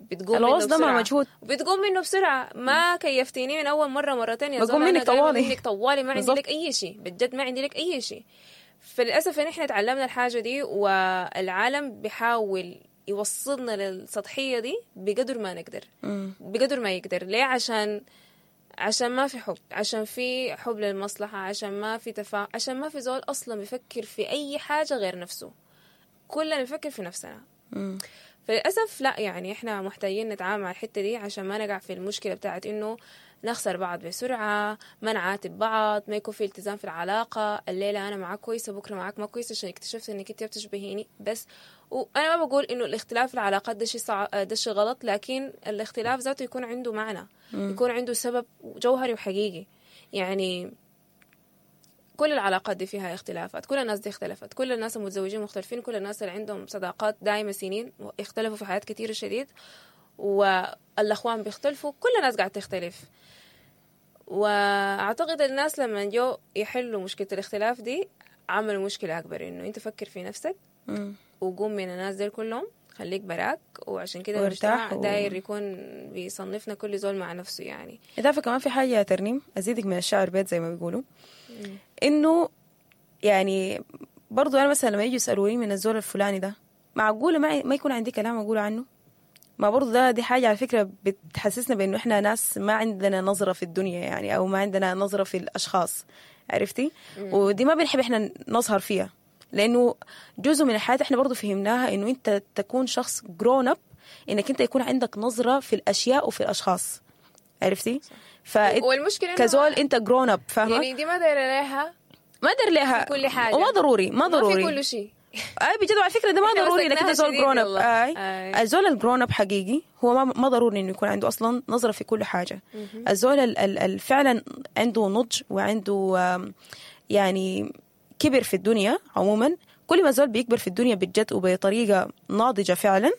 [SPEAKER 2] بتقوم
[SPEAKER 1] الغوص ده مع مجهود،
[SPEAKER 2] بتقوم منه بسرعة. ما كيفتيني من أول مرة مرتين يا
[SPEAKER 1] زول، منك طوالي
[SPEAKER 2] منك طوالي، ما عندي لك أي شيء بجد، ما عندي لك أي شيء. فللأسف إن إحنا تعلمنا الحاجة دي، والعالم بيحاول يوصلنا للسطحية دي بقدر ما نقدر، بقدر ما يقدر. ليه؟ عشان عشان ما في حب، عشان في حب للمصلحة، عشان ما في تفاهم، عشان ما في زول أصلا بيفكر في أي حاجة غير نفسه، كلنا بنفكر في نفسنا.
[SPEAKER 1] مم.
[SPEAKER 2] فللأسف لا، يعني إحنا محتاجين نتعامل مع الحتة دي عشان ما نقع في المشكلة بتاعت إنه نخسر بعض بسرعة، ما نعاتب بعض، ما يكون في التزام في العلاقة. الليلة أنا معاك كويسة، بكرة معاك ما كويسة، عشان اكتشفت إنك أنت بتشبهيني بس. وأنا ما بقول إنه الاختلاف في العلاقات ده شيء صع... ده شيء غلط، لكن الاختلاف ذاته يكون عنده معنى،
[SPEAKER 1] مم.
[SPEAKER 2] يكون عنده سبب جوهري وحقيقي. يعني كل العلاقات دي فيها اختلافات، كل الناس دي اختلفت، كل الناس المتزوجين مختلفين، كل الناس اللي عندهم صداقات دائمة سنين اختلفوا في حياة كتير شديد، والأخوان بيختلفوا، كل الناس قاعدة تختلف. وأعتقد الناس لما جو يحلوا مشكلة الاختلاف دي عملوا مشكلة أكبر، إنه أنت فكر في نفسك وقوم من الناس دي كلهم، خليك براك. وعشان كده المجتمع و... داير يكون بيصنفنا كل زول مع نفسه. يعني
[SPEAKER 1] إضافة كمان في حاجة يا ترنيم أزيدك من الشعر بيت زي ما بيقولوا، إنه يعني برضو أنا مثلا لما يجوا يسألوني من الزول الفلاني ده، معقولة ما ما يكون عندي كلام أقوله عنه؟ ما برضو ده دي حاجة على فكرة بتحسسنا بإنه إحنا ناس ما عندنا نظرة في الدنيا، يعني أو ما عندنا نظرة في الأشخاص، عرفتي؟
[SPEAKER 2] مم.
[SPEAKER 1] ودي ما بنحب إحنا نظهر فيها، لأنه جزء من الحياة إحنا برضو فهمناها إنه أنت تكون شخص grown up، إنك أنت يكون عندك نظرة في الأشياء وفي الأشخاص، عرفتي؟ ف
[SPEAKER 2] والمشكلة
[SPEAKER 1] كزول أنت grown up، فاهمة؟
[SPEAKER 2] يعني دي ما دايرة لها،
[SPEAKER 1] ما داير لها
[SPEAKER 2] كل حاجة،
[SPEAKER 1] وما ضروري، ما ضروري
[SPEAKER 2] ما في كل شيء.
[SPEAKER 1] اي بجد على فكرة ده ما
[SPEAKER 2] إحنا
[SPEAKER 1] ضروري انك انت
[SPEAKER 2] مسكناها
[SPEAKER 1] زول
[SPEAKER 2] شديد
[SPEAKER 1] grown up.
[SPEAKER 2] والله.
[SPEAKER 1] اي
[SPEAKER 2] آي.
[SPEAKER 1] الزول ال grown up حقيقي هو ما ما ضروري انه يكون عنده اصلا نظره في كل حاجة. الزول ال- ال- ال- فعلا عنده نضج وعنده آم، يعني كبر في الدنيا عموما. كل ما الزول بيكبر في الدنيا بجد وبطريقة ناضجة فعلا،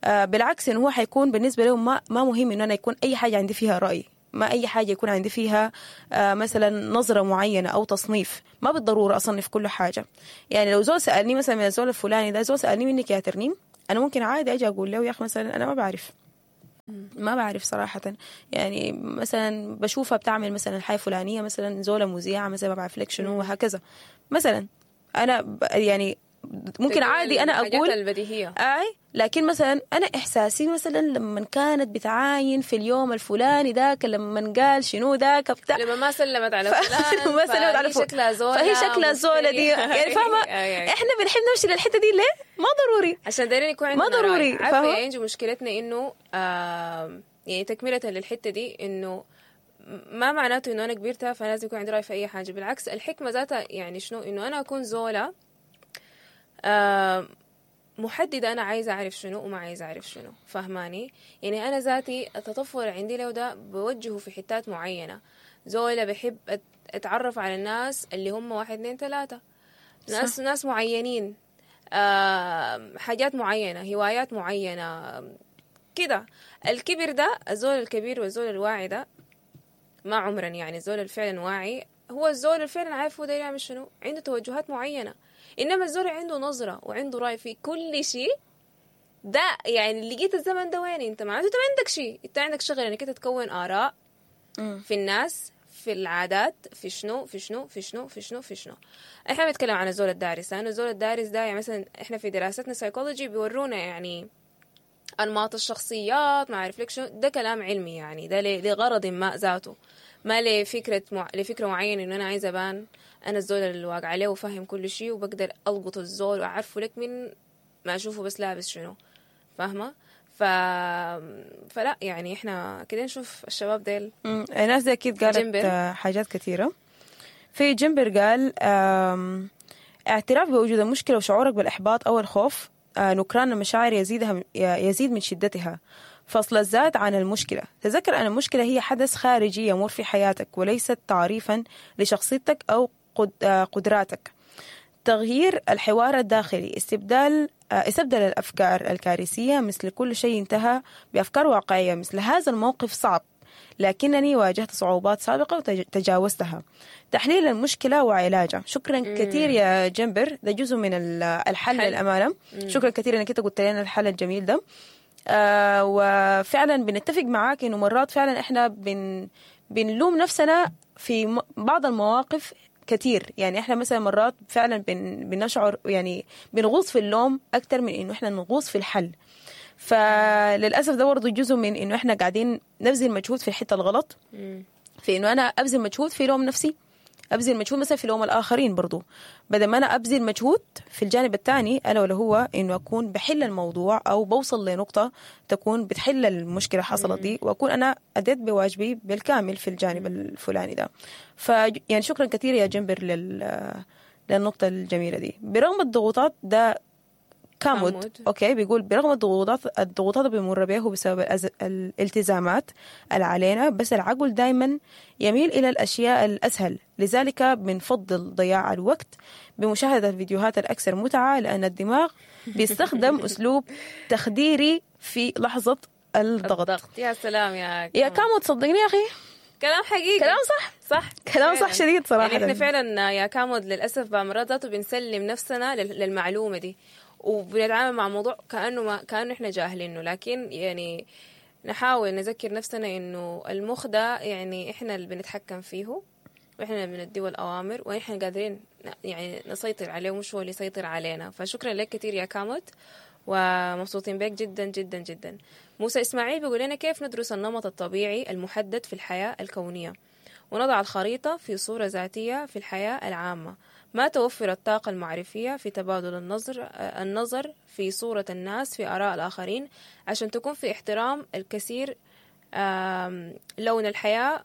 [SPEAKER 1] آه، بالعكس انه هو حيكون بالنسبة له ما ما مهم انه انا يكون اي حاجة عندي فيها راي، ما اي حاجة يكون عندي فيها آه، مثلا نظره معينة او تصنيف. ما بالضرورة اصنف كل حاجة. يعني لو زول سالني مثلا من الزول الفلاني ده، زول سالني منك يا ترنيم، انا ممكن عادي اجي اقول له يا اخي مثلا انا ما بعرف، ما بعرف صراحة. يعني مثلا بشوفها بتعمل مثلا حاجة فلانية، مثلا زولة مذيعة مثلا، ما بعرف لك شنو وهكذا. مثلا أنا ب- يعني ممكن
[SPEAKER 2] تقول
[SPEAKER 1] عادي أنا
[SPEAKER 2] الحاجات
[SPEAKER 1] أقول
[SPEAKER 2] البديهية.
[SPEAKER 1] اي، لكن مثلا انا احساسي مثلا لما كانت بتعاين في اليوم الفلاني ذاك، لما قال شنو ذاك بتاع،
[SPEAKER 2] لما ما سلمت على
[SPEAKER 1] ف-
[SPEAKER 2] فلان،
[SPEAKER 1] ما سلمت على
[SPEAKER 2] فهي
[SPEAKER 1] فلان.
[SPEAKER 2] شكلها زولة
[SPEAKER 1] فهي شكلها زولة دي.
[SPEAKER 2] مفترية.
[SPEAKER 1] يعني فاهمة؟
[SPEAKER 2] أي أي.
[SPEAKER 1] احنا بنحب نمشي للحتة دي ليه؟ ما ضروري.
[SPEAKER 2] عشان دايرين يكون عندنا
[SPEAKER 1] ما ضروري،
[SPEAKER 2] رأي. عارفة
[SPEAKER 1] فاهمة؟
[SPEAKER 2] يا انجي مشكلتنا انه آم، يعني تكملة للحتة دي، انه ما معناته انه انا كبرت فلازم يكون عندي رأي في اي حاجة. بالعكس الحكمة ذاتها يعني شنو، انه انا اكون زولة آم، محددة أنا عايزة أعرف شنو وما عايزة أعرف شنو، فهماني؟ يعني أنا ذاتي التطفل عندي لو ده بوجهه في حتات معينة. زولة بحب أت- أتعرف على الناس اللي هم واحد اثنين ثلاثة، ناس صح. ناس معينين، آه، حاجات معينة، هوايات معينة كده. الكبر ده، الزول الكبير والزول الواعي ده ما عمرا، يعني الزول اللي فعلا واعي هو الزول اللي فعلا عارف هو داير يعمل شنو، عنده توجهات معينة. إنما الزول اللي عنده نظرة وعنده رأي في كل شيء ده، يعني لقيت الزمن ده وين انت؟ معناته انت ما عندك شيء، انت عندك شغل انك انت تكون آراء في الناس، في العادات، في شنو في شنو في شنو في شنو في شنو. احنا بنتكلم عن الزول الدارس، لانه الزول الدارس ده يعني مثلا احنا في دراستنا سايكولوجي بيورونا يعني انماط الشخصيات، ما اعرف لك شنو، ده كلام علمي يعني، ده ل- لغرض ما ذاته، ما لفكرة مع... لفكرة معينة انه انا عايزه ابان انا الزول اللي واقع عليه وفاهم كل شيء وبقدر القط الزول واعرفه لك من ما اشوفه بس لابس شنو، فاهمه؟ ف... فلا يعني احنا كده نشوف الشباب ديل.
[SPEAKER 1] مم. الناس دي اكيد قالت
[SPEAKER 2] جنبر.
[SPEAKER 1] آه، حاجات كثيرة. في جنبر قال آم، اعتراف بوجود المشكلة وشعورك بالاحباط او الخوف، آه، نكران المشاعر يزيدها يزيد من شدتها. فصل الذات عن المشكلة، تذكر ان المشكلة هي حدث خارجي يمر في حياتك وليست تعريفا لشخصيتك او قد- آه، قدراتك. تغيير الحوار الداخلي، استبدال آه، استبدل الأفكار الكارثية مثل كل شيء انتهى بأفكار واقعية مثل هذا الموقف صعب لكنني واجهت صعوبات سابقة وتجاوزتها. تحليل المشكلة وعلاجها. شكرا كثير يا جنبر، ده جزء من ال- الحل
[SPEAKER 2] حل.
[SPEAKER 1] للأمانة. شكرا كثير انك انت قلت لنا الحل الجميل ده. آه وفعلا بنتفق معاك انه مرات فعلا احنا بن بنلوم نفسنا في م- بعض المواقف كثير. يعني احنا مثلا مرات فعلا بن بنشعر يعني بنغوص في اللوم اكثر من انه احنا نغوص في الحل. فللاسف ده برضه جزء من انه احنا قاعدين نبذل مجهود في الحتة الغلط، في انه انا ابذل مجهود في لوم نفسي، ابذل مجهود مثلا في لوم الاخرين برضو، بدل ما انا ابذل مجهود في الجانب الثاني الا ولا هو انه اكون بحل الموضوع او بوصل لنقطة تكون بتحل المشكلة حصلت دي، واكون انا اديت بواجبي بالكامل في الجانب الفلاني ده. ف يعني شكرا كثير يا جنبر لل للنقطة الجميلة دي. برغم الضغوطات ده كامود,
[SPEAKER 2] كامود.
[SPEAKER 1] okay بيقول برغم الضغوطات الضغوطات اللي بيمر بيه بسبب الأز... الالتزامات اللي علينا، بس العقل دائما يميل الى الاشياء الاسهل، لذلك بنفضل ضياع الوقت بمشاهدة الفيديوهات الاكثر متعه، لان الدماغ بيستخدم اسلوب تخديري في لحظة الضغط.
[SPEAKER 2] الضغط. يا سلام يا
[SPEAKER 1] يا كامو تصدقني يا اخي
[SPEAKER 2] كلام حقيقي،
[SPEAKER 1] كلام صح،
[SPEAKER 2] صح
[SPEAKER 1] كلام صح
[SPEAKER 2] فعلاً.
[SPEAKER 1] شديد صراحة.
[SPEAKER 2] يعني احنا فعلا يا كامود للاسف بعض مرات ذاته بنسلم نفسنا لل- للمعلومة دي، وبنتعامل مع موضوع كانه ما كانه احنا جاهلينه، لكن يعني نحاول نذكر نفسنا انه المخ ده يعني احنا اللي بنتحكم فيه، واحنا اللي بنديه الاوامر، واحنا قادرين ن- يعني نسيطر عليه ومش هو اللي يسيطر علينا. فشكرا لك كثير يا كاموت، ومبسوطين بك جدا جدا جدا. موسى اسماعيل بيقول لنا كيف ندرس النمط الطبيعي المحدد في الحياة الكونية ونضع الخريطة في صورة ذاتية في الحياة العامة، ما توفر الطاقة المعرفية في تبادل النظر النظر في صورة الناس في آراء الآخرين عشان تكون في احترام الكثير. آم، لون الحياة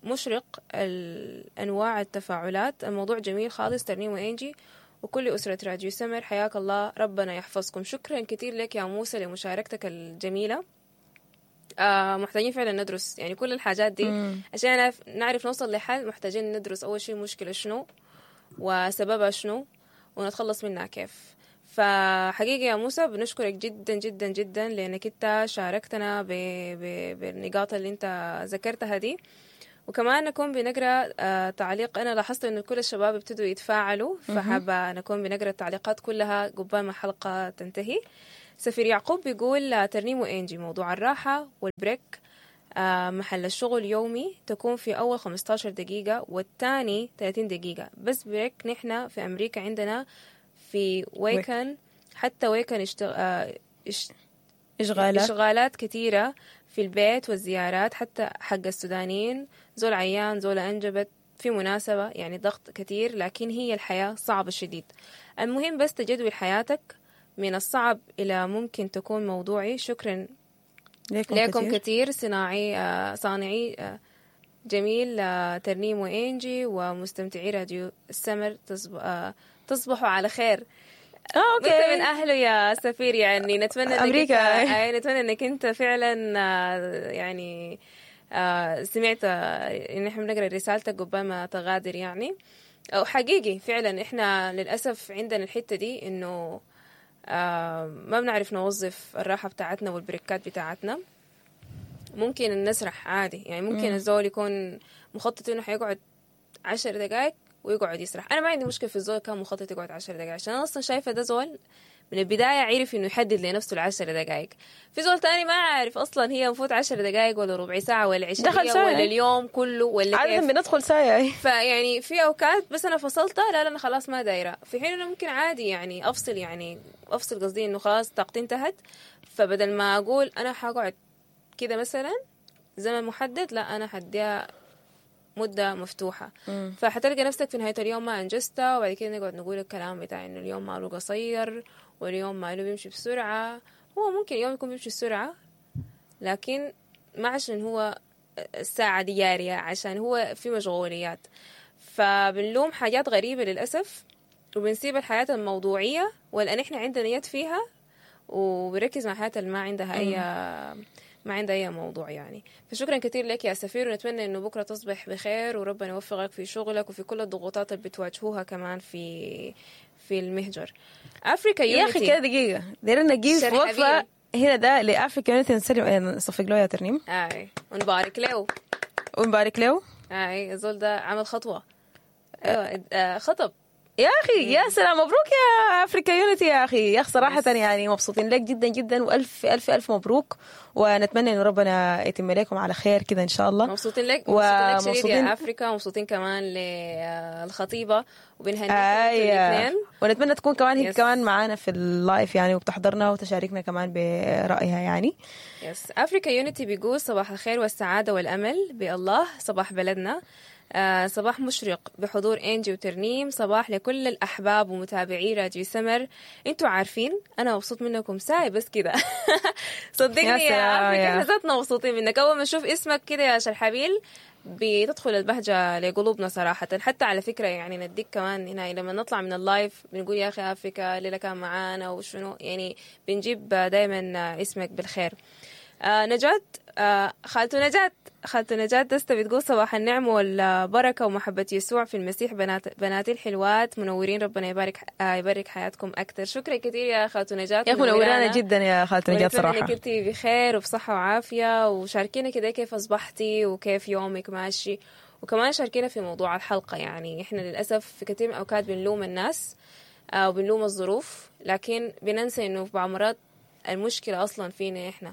[SPEAKER 2] مشرق الأنواع التفاعلات. الموضوع جميل خالص ترنيم وإنجي، وكل أسرة راديو سمر، حياك الله، ربنا يحفظكم. شكرا كثير لك يا موسى لمشاركتك الجميلة. آه محتاجين فعلا ندرس يعني كل الحاجات دي
[SPEAKER 1] مم.
[SPEAKER 2] عشان نعرف, نعرف نوصل لحل. محتاجين ندرس أول شيء المشكلة شنو وسببها شنو ونتخلص منها كيف. فحقيقة يا موسى بنشكرك جدا جدا جدا لأنك انت شاركتنا ب... ب... بالنقاط اللي انت ذكرتها دي. وكمان نكون بنقرا آه، تعليق. انا لاحظت انه كل الشباب ابتدوا يتفاعلوا، فحابه نكون بنقرا التعليقات كلها قبل ما الحلقة تنتهي. سفير يعقوب بيقول آه، ترنيم وانجي، موضوع الراحة وال break آه، محل الشغل يومي تكون في أول خمستاشر دقيقة والثاني ثلاثين دقيقة بس break. نحن في أمريكا عندنا في weekend، حتى weekend اشتغ... آه، اشت...
[SPEAKER 1] اشغالات
[SPEAKER 2] إشغالات كثيرة في البيت والزيارات، حتى حق السودانيين، زول عيان، زول أنجبت، في مناسبة، يعني ضغط كثير، لكن هي الحياة صعبة شديد. المهم بس تجدول حياتك من الصعب إلى ممكن تكون موضوعي. شكرا
[SPEAKER 1] ليكم,
[SPEAKER 2] لكم
[SPEAKER 1] كثير.
[SPEAKER 2] كثير صناعي آه، صانعي آه، جميل آه، ترنيم وإنجي ومستمتعي راديو السمر، تصب... آه، تصبحوا على خير.
[SPEAKER 1] اه
[SPEAKER 2] وانت من
[SPEAKER 1] okay
[SPEAKER 2] اهله يا سفير، يعني نتمنى انك
[SPEAKER 1] أمريكا.
[SPEAKER 2] انت أي نتمنى انك انت فعلا آه، يعني آه، سمعت آه، ان احنا بنقرا رسالتك قبل ما تغادر يعني. او حقيقي فعلا احنا للاسف عندنا الحتة دي انه آه، ما بنعرف نوظف الراحة بتاعتنا والبريكات بتاعتنا. ممكن نسرح عادي، يعني ممكن الزول يكون مخطط انه حيقعد عشر دقائق ويقعد يسرح. انا ما عندي مشكلة في الزول كان مخطط يقعد عشر دقائق، عشان انا اصلا شايفه ده زول من البداية عرف انه يحدد لنفسه العشر دقائق. في زول تاني ما عارف اصلا هي المفروض عشر دقائق ولا ربع ساعة ولا عشرين
[SPEAKER 1] دخل
[SPEAKER 2] دقيقة
[SPEAKER 1] ساعة.
[SPEAKER 2] ولا اليوم كله ولا
[SPEAKER 1] عادة
[SPEAKER 2] كيف.
[SPEAKER 1] بندخل ساعة.
[SPEAKER 2] فيعني في اوقات بس انا فصلتها، لا لا انا خلاص ما دايرة، في حين انه ممكن عادي يعني افصل، يعني افصل قصدي انه خلاص طاقتي انتهت، فبدل ما اقول انا حقعد كده مثلا زمن محدد، لا انا حديها مدة مفتوحة. فحتلقى نفسك في نهاية اليوم ما أنجزتها، وبعد كده نقعد نقول الكلام بتاع إنه اليوم ماله قصير واليوم ماله بيمشي بسرعة. هو ممكن اليوم يكون بيمشي بسرعة، لكن ما عشان هو الساعة دي جارية، عشان هو في مشغوليات. فبنلوم حاجات غريبة للأسف، وبنسيب الحياة الموضوعية والآن إحنا عندنا يد فيها، وبنركز مع الحياة اللي ما عندها أي ما عندها أي موضوع يعني. فشكرا كثير لك يا سفير، ونتمنى إنه بكرة تصبح بخير وربنا يوفقك في شغلك وفي كل الضغوطات اللي بتواجهوها كمان في في المهجر. أفريكا
[SPEAKER 1] يا اخي كده دقيقة دايرين نجيب
[SPEAKER 2] شرحبيل.
[SPEAKER 1] وقفة هنا ده ل Africa Unity، نسلم نصفق له يا ترنيم
[SPEAKER 2] آي ونبارك له.
[SPEAKER 1] ونبارك له.
[SPEAKER 2] آي الزول ده عمل خطوة، أيوة آه، خطب.
[SPEAKER 1] يا اخي يا سلام، مبروك يا Africa Unity يا اخي. يا اخي صراحة يعني مبسوطين لك جدا جدا، والف الف الف مبروك، ونتمنى انه ربنا يتم لكم على خير كده ان شاء الله.
[SPEAKER 2] مبسوطين لك، مبسوطين لك شديد
[SPEAKER 1] ومبسوطين-
[SPEAKER 2] يا افريكا، مبسوطين كمان للخطيبه وبنهنيكم انتوا
[SPEAKER 1] ايوه
[SPEAKER 2] الاثنين.
[SPEAKER 1] ونتمنى تكون كمان هي
[SPEAKER 2] yes.
[SPEAKER 1] كمان معانا في ال live يعني، وبتحضرنا وتشاركنا كمان برايها يعني.
[SPEAKER 2] yes Africa Unity بيقول صباح الخير والسعادة والامل بالله، صباح بلدنا، آه صباح مشرق بحضور انجي وترنيم، صباح لكل الاحباب ومتابعي راديو سمر. انتوا عارفين انا مبسوط منكم ساي بس كده. صدقني
[SPEAKER 1] يا
[SPEAKER 2] يا
[SPEAKER 1] سلام
[SPEAKER 2] افريكا
[SPEAKER 1] يا.
[SPEAKER 2] احنا ذاتنا مبسوطين منك. اول ما نشوف اسمك كده يا شرحبيل بتدخل البهجة لقلوبنا صراحة. حتى على فكرة يعني نديك كمان هنا لما نطلع من ال live بنقول يا أخي أفريكا ليلة كان معانا وشنو، يعني بنجيب دايما اسمك بالخير. آه نجاة، آه خالته نجاة، خالته نجاة دستة بتقول صباح النعم والبركة ومحبة يسوع في المسيح، بنات بناتي الحلوات منورين، ربنا يبارك آه يبارك حياتكم أكثر. شكرا كثير يا خالته نجاة،
[SPEAKER 1] يا اخي منورانا جدا يا خالته نجاة
[SPEAKER 2] ونتمنى
[SPEAKER 1] صراحة.
[SPEAKER 2] انك انت بخير وبصحة وعافية، وشاركينا كده كيف أصبحتي وكيف يومك ماشي، وكمان شاركينا في موضوع الحلقة. يعني احنا للأسف في كثير من الأوقات بنلوم الناس آه، وبنلوم الظروف، لكن بننسى انه في بعض المرات المشكلة أصلا فينا احنا.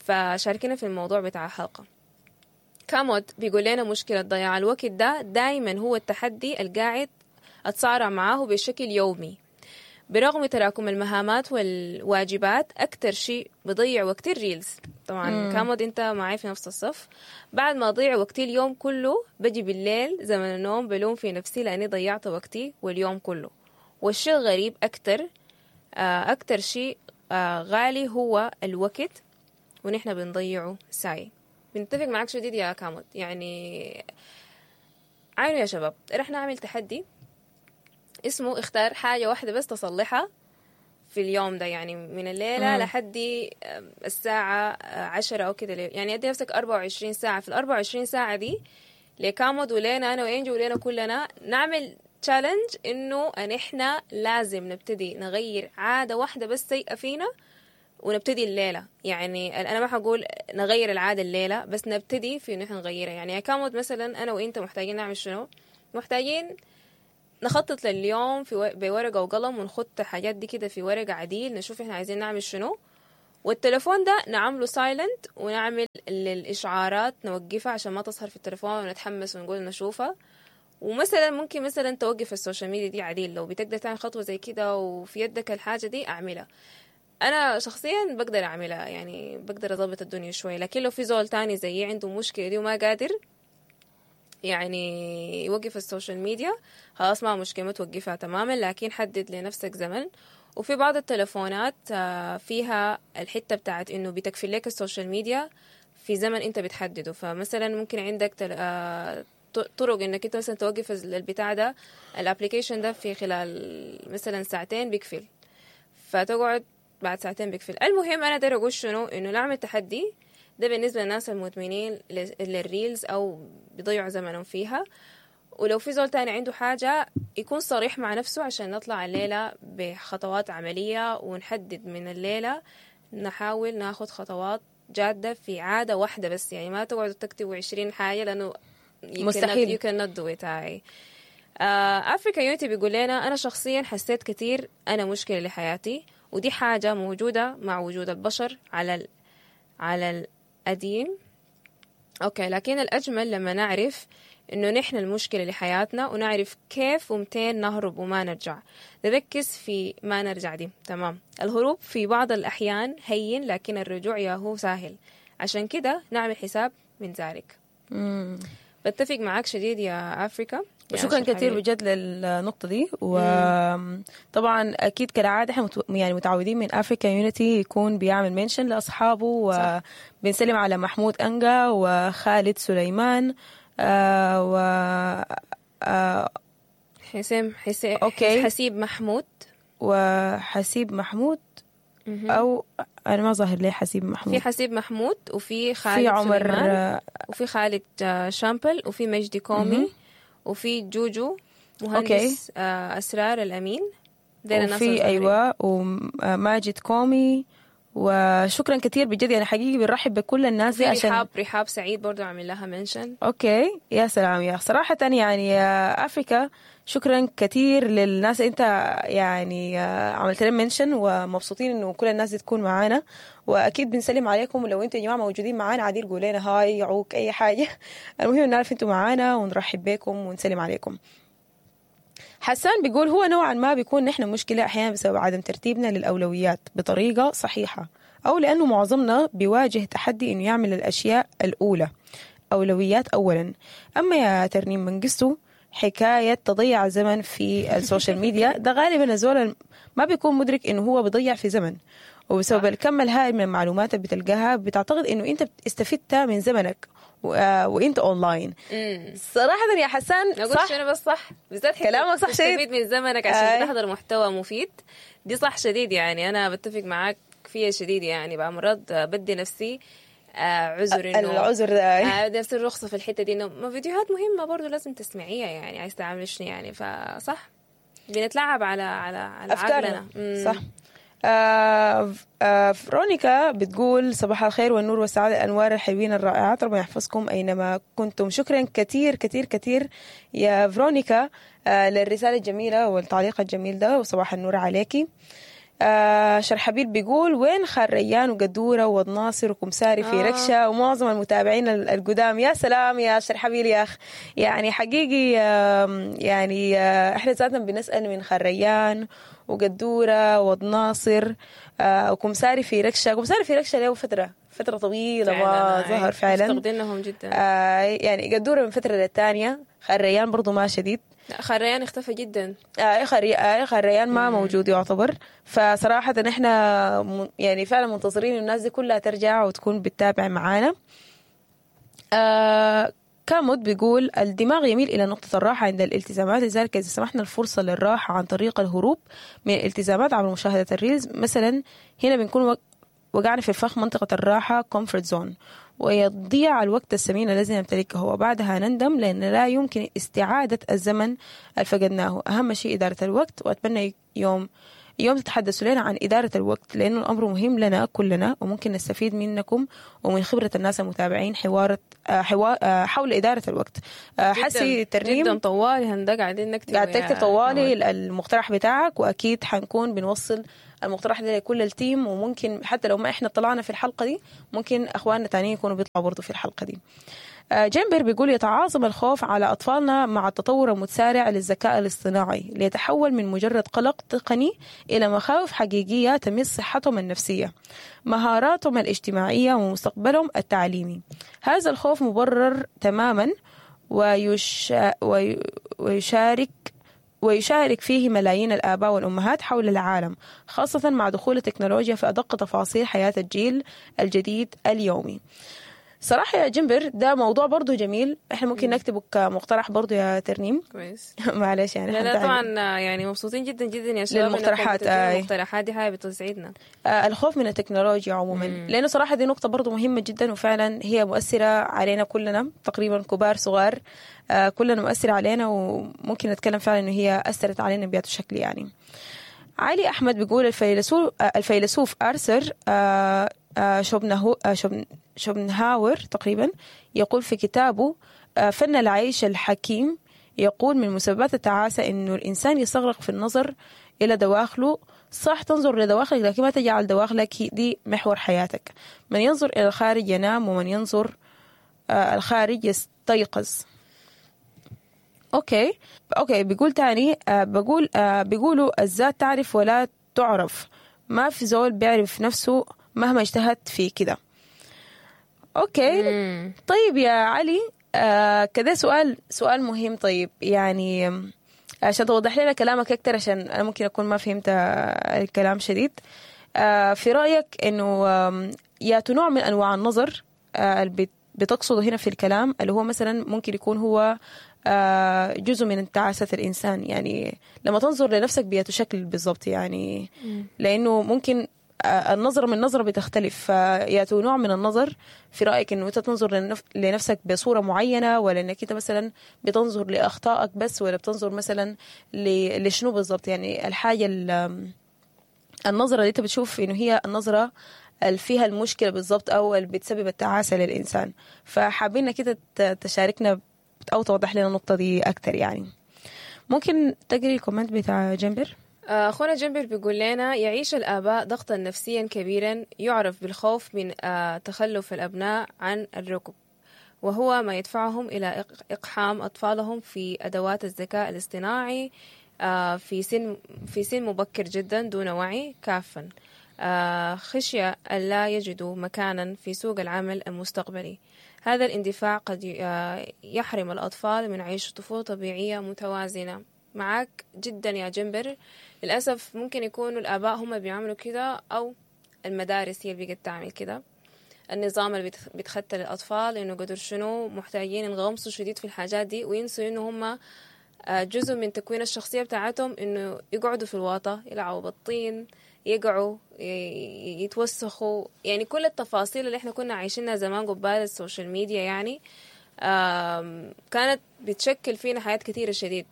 [SPEAKER 2] فشاركينا في الموضوع بتاع الحلقة. كاموت بيقول لنا مشكلة ضياع الوقت ده دايما هو التحدي القاعد أتصارع معاه بشكل يومي، برغم تراكم المهامات والواجبات. أكتر شيء بضيع وقتي ال reels. طبعا كامود أنت معي في نفس الصف. بعد ما أضيع وقتي اليوم كله بجي بالليل زمن النوم بلوم في نفسي لأني ضيعت وقتي واليوم كله. والشيء الغريب أكتر آه، أكتر شيء آه، غالي هو الوقت، ونحن بنضيعه ساي. بنتفق معك شديد يا كامود. يعني عينوا يا شباب، رح نعمل تحدي اسمه اختار حاجة واحدة بس تصلحها في اليوم ده، يعني من الليلة
[SPEAKER 1] مم.
[SPEAKER 2] لحد الساعة عشرة أو كده، يعني أدي نفسك أربعة وعشرين ساعة. في الأربعة وعشرين ساعة دي لكامود ولينا أنا وإنجي ولينا كلنا نعمل challenge إنه أن إحنا لازم نبتدي نغير عادة واحدة بس سيئة فينا، ونبتدي الليلة. يعني أنا ما حقول نغير العادة الليلة، بس نبتدي في إنه إحنا نغيرها. يعني يا كامود مثلا أنا وإنت محتاجين نعمل شنو؟ محتاجين نخطط لليوم في و... بورقة وقلم، ونخط الحاجات دي كده في ورقة عديل، نشوف احنا عايزين نعمل شنو. والتليفون ده نعمله silent، ونعمل للإشعارات نوقفها عشان ما تظهر في التليفون ونتحمس ونقول نشوفها. ومثلا ممكن مثلا توقف ال social media دي عديل، لو بتقدر تعمل خطوة زي كده وفي يدك الحاجة دي أعملها. أنا شخصيا بقدر أعملها، يعني بقدر أضبط الدنيا شوي، لكن لو في زول تاني زيي عنده مشكلة دي وما قادر يعني يوقف ال social media، خلاص ما مشكلة، ما توقفها تماما، لكن حدد لنفسك زمن. وفي بعض التلفونات آه، فيها الحتة بتاعت إنه بتكفي لك ال social media في زمن أنت بتحدده. فمثلا ممكن عندك تل... آه، ط- طرق إنك أنت مثلا توقف البتاع ده، ال application ده في خلال مثلا ساعتين بيقفل، فتقعد بعد ساعتين بيقفل. المهم أنا داير أقول شنو، إنه نعمل تحدي ده بالنسبة للناس المدمنين لل- لل reels أو بيضيعوا زمنهم فيها. ولو في زول تاني عنده حاجة يكون صريح مع نفسه عشان نطلع الليلة بخطوات عملية، ونحدد من الليلة نحاول ناخد خطوات جادة في عادة واحدة بس. يعني ما تقعدوا تكتبوا عشرين حاجة لأنه you cannot,
[SPEAKER 1] مستحيل.
[SPEAKER 2] you cannot do it. هاي أفريكا يونيتي بيقول لنا أنا شخصيا حسيت كثير أنا مشكلة لحياتي، ودي حاجة موجودة مع وجود البشر على ال... على القديم. okay، لكن الأجمل لما نعرف إنه نحن المشكلة لحياتنا، ونعرف كيف ومتين نهرب وما نرجع. نركز في ما نرجع دي، تمام. الهروب في بعض الأحيان هين، لكن الرجوع ياهو سهل، عشان كده نعمل حساب من ذلك.
[SPEAKER 1] مم.
[SPEAKER 2] بتفق معاك شديد يا أفريكا. يا
[SPEAKER 1] شكرا
[SPEAKER 2] أشرف
[SPEAKER 1] كثير
[SPEAKER 2] حبيبي.
[SPEAKER 1] بجد للنقطة دي. وطبعا أكيد كالعادة احنا مت- يعني متعودين من أفريكا يونيتي يكون بيعمل mention لأصحابه،
[SPEAKER 2] صح.
[SPEAKER 1] وبنسلم على محمود أنجا وخالد سليمان آه و آه
[SPEAKER 2] حسام حسين
[SPEAKER 1] okay.
[SPEAKER 2] حسيب محمود.
[SPEAKER 1] وحسيب محمود، أو أنا ما ظاهر لي حسيب محمود.
[SPEAKER 2] في حسيب محمود، وفي خالد
[SPEAKER 1] في عمر
[SPEAKER 2] سليمان،
[SPEAKER 1] آه،
[SPEAKER 2] وفي خالد آه، شامبل، وفي مجدي كومي، وفي جوجو مهندس آه، أسرار الأمين. ديل الناس
[SPEAKER 1] وفي
[SPEAKER 2] الظاهرين.
[SPEAKER 1] ايوه وماجد كومي. وشكرا كثير بجد، يعني حقيقي بنرحب بكل الناس دي
[SPEAKER 2] في
[SPEAKER 1] عشان
[SPEAKER 2] رحاب رحاب سعيد برضو عامل لها mention.
[SPEAKER 1] okay يا سلام يا صراحة يعني يا افريكا شكرا كثير للناس، انت يعني آه، عملت لنا mention، ومبسوطين انه كل الناس دي تكون معانا، واكيد بنسلم عليكم. ولو انتم يا جماعة موجودين معانا عادي قولوا لنا hi عوك اي حاجة، المهم نعرف انتم معانا ونرحب بكم ونسلم عليكم. حسان بيقول هو نوعا ما بيكون نحن مشكلة أحيانا بسبب عدم ترتيبنا للأولويات بطريقة صحيحة، أو لأنه معظمنا بيواجه تحدي إنه يعمل الأشياء الأولى أولويات أولا. أما يا ترنيم منقستو حكاية تضيع الزمن في ال social media ده غالبا الزول ما بيكون مدرك إنه هو بيضيع في زمن، وبسبب الكم الهائل من المعلومات اللي بتلقاها بتعتقد إنه أنت استفدت من زمنك و... آه، وأنت أونلاين. صراحة يا حسان
[SPEAKER 2] أقول
[SPEAKER 1] صح
[SPEAKER 2] شنو بس صح بالذات حتة
[SPEAKER 1] كلامك صح شديد.
[SPEAKER 2] تستفيد من زمنك عشان
[SPEAKER 1] آي.
[SPEAKER 2] تحضر محتوى مفيد، دي صح شديد. يعني أنا بتفق معاك فيها شديد. يعني بعض مرات بدي نفسي آه، عذر إنه
[SPEAKER 1] العذر ده
[SPEAKER 2] آه، بدي نفسي الرخصة في الحتة دي، إنه ما فيديوهات مهمة برضو لازم تسمعيها، يعني عايز تعمل شنو يعني. فصح بنتلعب على على على
[SPEAKER 1] افكارنا
[SPEAKER 2] عقلنا. مم.
[SPEAKER 1] صح. آه آه فرونيكا بتقول صباح الخير والنور والسعادة، الأنوار الحلوين الرائعات، ربنا يحفظكم أينما كنتم. شكرا كثير كثير كثير يا فرونيكا آه للرسالة الجميلة والتعليق الجميل ده، وصباح النور عليكي. آه شرحبيل بيقول وين خريان وقدورة والناصر وكمساري في
[SPEAKER 2] آه.
[SPEAKER 1] ركشة ومعظم المتابعين ال- القدام. يا سلام يا شرحبيل يا أخ، يعني حقيقي آم، يعني آه، احنا ذاتنا بنسأل من خريان وقدورة والناصر آه، وكمساري في ركشة. كمساري في ركشة له فترة فترة طويلة ما
[SPEAKER 2] فعلاً، آي.
[SPEAKER 1] ظهر فعلا.
[SPEAKER 2] مفتقدينهم جدا.
[SPEAKER 1] آه يعني قدورة من فترة للتانية، خريان برضو ما شديد.
[SPEAKER 2] لا، خريان اختفى جدا.
[SPEAKER 1] آه خري... آه خريان ما موجود يعتبر. فصراحة احنا م... يعني فعلا منتظرين الناس دي كلها ترجع وتكون بتتابع معانا. آه كاموت بيقول الدماغ يميل إلى نقطة الراحة عند الالتزامات، لذلك إذا سمحنا الفرصة للراحة عن طريق الهروب من الالتزامات عبر مشاهدة ال reels مثلا، هنا بنكون وقعنا في فخ منطقة الراحة comfort zone، ويضيع الوقت الثمين الذي نمتلكه، وبعدها نندم لأن لا يمكن استعادة الزمن الفقدناه. أهم شيء إدارة الوقت، وأتمنى يوم يوم تتحدثوا لنا عن إدارة الوقت لأنه الأمر مهم لنا كلنا، وممكن نستفيد منكم ومن خبرة الناس المتابعين حوار حوار حول إدارة الوقت. حسي ترنيم
[SPEAKER 2] جدا طوالي هندق قاعدين نكتب،
[SPEAKER 1] قاعد تكتب طوالي المقترح بتاعك، وأكيد حنكون بنوصل المقترح ده لكل ال team، وممكن حتى لو ما إحنا طلعنا في الحلقة دي ممكن أخواننا تانيين يكونوا بيطلعوا برضو في الحلقة دي. جيمبر بيقول يتعاظم الخوف على أطفالنا مع التطور المتسارع للذكاء الاصطناعي ليتحول من مجرد قلق تقني إلى مخاوف حقيقية تمس صحتهم النفسية، مهاراتهم الاجتماعية، ومستقبلهم التعليمي. هذا الخوف مبرر تماما ويشا ويشارك ويشارك فيه ملايين الآباء والأمهات حول العالم، خاصة مع دخول التكنولوجيا في أدق تفاصيل حياة الجيل الجديد اليومي. صراحة يا جنبر ده موضوع برضو جميل، احنا ممكن نكتبه كمقترح برضو يا ترنيم.
[SPEAKER 2] كويس.
[SPEAKER 1] معلش يعني
[SPEAKER 2] لا لا طبعا يعني مبسوطين جدا جدا يا شباب
[SPEAKER 1] للمقترحات.
[SPEAKER 2] آه. المقترحات دي حاجة بتسعدنا.
[SPEAKER 1] آه الخوف من التكنولوجيا عموما، مم. لأنه صراحة دي نقطة برضو مهمة جدا، وفعلا هي مؤثرة علينا كلنا تقريبا، كبار صغار، آه كلنا مؤثرة علينا، وممكن نتكلم فعلا إنه هي أثرت علينا بهذا الشكل يعني. علي أحمد بيقول الفيلسوف الفيلسوف أرثر آه آه شوبنهو آه شوبن شوبنهاور تقريبا يقول في كتابه آه فن العيش الحكيم، يقول من مسببات التعاسة إنه الإنسان يستغرق في النظر إلى دواخله. صح تنظر لدواخلك، لكن ما تجعل دواخلك دي محور حياتك. من ينظر إلى الخارج ينام، ومن ينظر آه الخارج يستيقظ. okay okay بيقول تاني آه بقول آه بيقولوا الذات تعرف ولا تعرف، ما في زول بيعرف نفسه مهما اجتهد في كده. okay. مم. طيب يا علي، آه كده سؤال سؤال مهم. طيب يعني عشان توضح لنا كلامك اكتر، عشان انا ممكن اكون ما فهمت الكلام شديد، آه في رايك انه يا نوع من انواع النظر آه اللي بتقصده هنا في الكلام، اللي هو مثلا ممكن يكون هو آه جزء من تعاسة الإنسان، يعني لما تنظر لنفسك بياتو شكل بالضبط يعني. مم. لأنه ممكن النظرة من نظرة بتختلف، فياتو نوع من النظر في رأيك إنه أنت تنظر لنفسك بصورة معينة، ولا إنك أنت مثلا بتنظر لأخطائك بس، ولا بتنظر مثلا لشنو بالضبط؟ يعني الحاجة النظرة اللي أنت بتشوف إنه هي النظرة اللي فيها المشكلة بالضبط، أو اللي بتسبب التعاسة للإنسان. فحابين كده تشاركنا أو توضح لنا النقطة دي أكتر يعني. ممكن تقري ال comment بتاع جنبر؟
[SPEAKER 2] أخونا جنبر بيقول لنا يعيش الآباء ضغطا نفسيا كبيرا يعرف بالخوف من تخلف الأبناء عن الركب، وهو ما يدفعهم إلى إقحام أطفالهم في أدوات الذكاء الاصطناعي في سن في سن مبكر جدا دون وعي كافا، خشية ألا يجدوا مكانا في سوق العمل المستقبلي. هذا الاندفاع قد يحرم الأطفال من عيش طفولة طبيعية متوازنة. معاك جدا يا جنبر. للأسف ممكن يكونوا الآباء هم بيعملوا كده، أو المدارس هي اللي بقت تعمل كده. النظام اللي بيتخطى للأطفال إنه قدر شنو محتاجين ينغمسوا شديد في الحاجات دي، وينسوا إنه هم جزء من تكوين الشخصية بتاعتهم إنه يقعدوا في الواطة، يلعبوا بالطين، يقعوا، يتوسخوا، يعني كل التفاصيل اللي احنا كنا عايشينها زمان قبال ال social media يعني كانت بتشكل فينا حياة كثيرة شديد،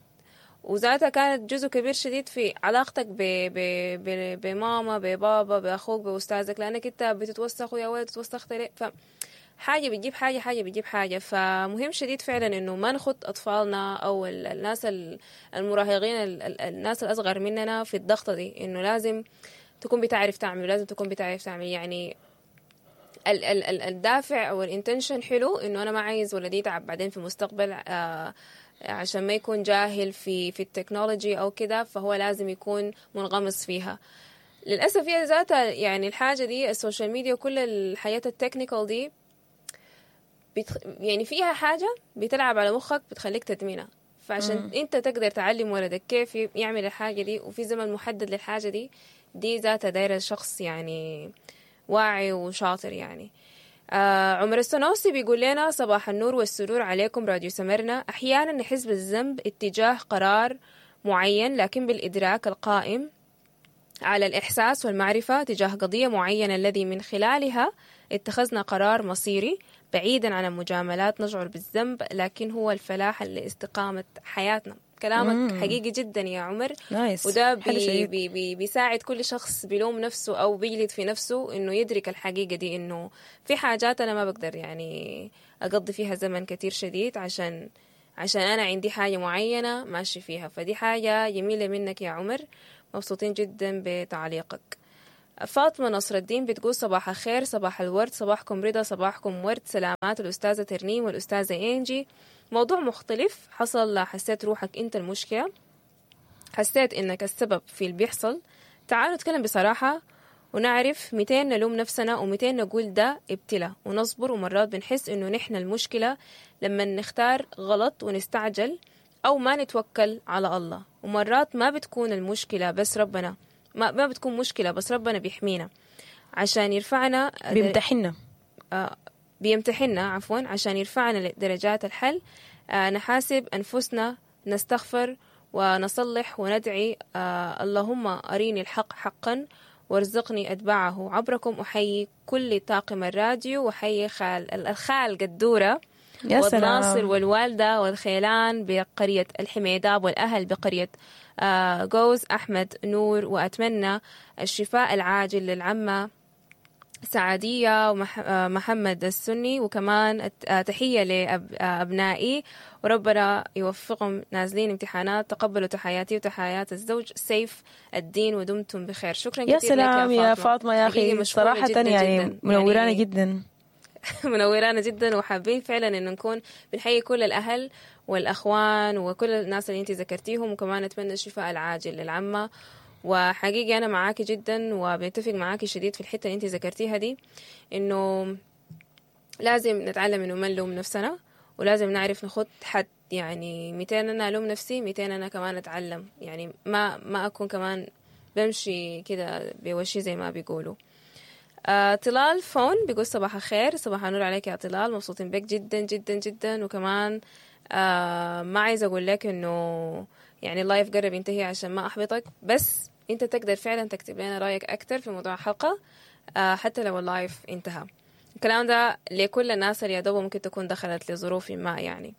[SPEAKER 2] وذاتها كانت جزء كبير شديد في علاقتك ب ب ب بماما، ببابا، بأخوك، بأستاذك، لأنك أنت بتتوسخ ويا ولد تتوسخت ليه. فحاجة بتجيب حاجة، حاجة بتجيب حاجة. فمهم شديد فعلا إنه ما نخط أطفالنا أو الناس المراهقين، الناس الأصغر مننا في الضغطة دي، إنه لازم تكون بتعرف تعمل، لازم تكون بتعرف تعمل. يعني ال ال الدافع أو ال intention حلو، إنه أنا ما عايز ولدي يتعب بعدين في المستقبل آه عشان ما يكون جاهل في في ال technology أو كده، فهو لازم يكون منغمس فيها. للأسف هي ذاتها يعني الحاجة دي ال social media وكل الحياة ال technical دي بتخ... يعني فيها حاجة بتلعب على مخك بتخليك تدمنها. فعشان مم. انت تقدر تعلم ولدك كيف يعمل الحاجة دي وفي زمن محدد للحاجة دي، دي ذاتها دايرة شخص يعني واعي وشاطر يعني. آه عمر السنوسي بيقول لنا صباح النور والسرور عليكم راديو سمرنا. أحيانا نحس بالذنب اتجاه قرار معين، لكن بالإدراك القائم على الإحساس والمعرفة تجاه قضية معينة الذي من خلالها اتخذنا قرار مصيري بعيدا عن المجاملات نشعر بالذنب، لكن هو الفلاح لاستقامة حياتنا. كلامك
[SPEAKER 1] مم.
[SPEAKER 2] حقيقي جدا يا عمر.
[SPEAKER 1] nice.
[SPEAKER 2] وده
[SPEAKER 1] حلو
[SPEAKER 2] بي
[SPEAKER 1] شديد.
[SPEAKER 2] بي بي بيساعد كل شخص بيلوم نفسه أو بيجلد في نفسه إنه يدرك الحقيقة دي، إنه في حاجات أنا ما بقدر يعني أقضي فيها زمن كتير شديد عشان عشان أنا عندي حاجة معينة ماشي فيها. فدي حاجة جميلة منك يا عمر، مبسوطين جدا بتعليقك. فاطمة نصر الدين بتقول صباح الخير، صباح الورد، صباحكم رضا، صباحكم ورد، سلامات الأستاذة ترنيم والأستاذة إنجي. موضوع مختلف حصل، حسيت روحك أنت المشكلة، حسيت إنك السبب في اللي بيحصل. تعالوا نتكلم بصراحة ونعرف متين نلوم نفسنا ومتين نقول ده ابتلاء ونصبر. ومرات بنحس إنه نحن المشكلة لما نختار غلط ونستعجل أو ما نتوكل على الله. ومرات ما بتكون المشكلة بس ربنا ما, ما بتكون مشكلة بس ربنا بيحمينا عشان يرفعنا،
[SPEAKER 1] بيمتحنا
[SPEAKER 2] آه بيمتحنا عفوا عشان يرفعنا لدرجات الحل. آه نحاسب أنفسنا، نستغفر ونصلح وندعي، آه اللهم أريني الحق حقا وارزقني أتباعه. عبركم أحيي كل طاقم الراديو، وأحيي خال الخال قدورة
[SPEAKER 1] يا سلام
[SPEAKER 2] والناصر والوالدة والخيلان بقرية الحميداب والأهل بقرية آه جوز أحمد نور. وأتمنى الشفاء العاجل للعمة سعدية ومحمد السني، وكمان تحية لأبنائي وربنا يوفقهم نازلين امتحانات. تقبلوا تحياتي وتحيات الزوج سيف الدين، ودمتم بخير. شكرا
[SPEAKER 1] يا
[SPEAKER 2] كثير لك
[SPEAKER 1] سلام
[SPEAKER 2] يا
[SPEAKER 1] يا
[SPEAKER 2] فاطمة،
[SPEAKER 1] فاطمة يا
[SPEAKER 2] حقيقي
[SPEAKER 1] أخي
[SPEAKER 2] مشكورة
[SPEAKER 1] صراحة
[SPEAKER 2] جدا
[SPEAKER 1] يعني
[SPEAKER 2] جدا،
[SPEAKER 1] منورانا
[SPEAKER 2] يعني
[SPEAKER 1] جدا.
[SPEAKER 2] منورانا جدا، وحابين فعلا انه نكون بنحيي كل الاهل والاخوان وكل الناس اللي انت ذكرتيهم، وكمان نتمنى الشفاء العاجل للعمه. وحقيقي انا معاكي جدا وبنتفق معاكي شديد في الحتة اللي انت ذكرتيها دي، انه لازم نتعلم انه ما نلوم نفسنا، ولازم نعرف نخط حد. يعني ميتين انا الوم نفسي، ميتين انا كمان اتعلم، يعني ما ما اكون كمان بمشي كده بوشي زي ما بيقولوا. آه، طلال فون بيقول صباح الخير، صباح النور عليك يا طلال، مبسوطين بك جدا جدا جدا. وكمان آه ما عايزة أقول لك إنه يعني ال live قرب ينتهي عشان ما أحبطك، بس أنت تقدر فعلا تكتب لنا رأيك أكتر في موضوع الحلقة آه حتى لو ال live انتهى. الكلام ده لكل الناس اللي يا دوب ممكن تكون دخلت لظروف ما. يعني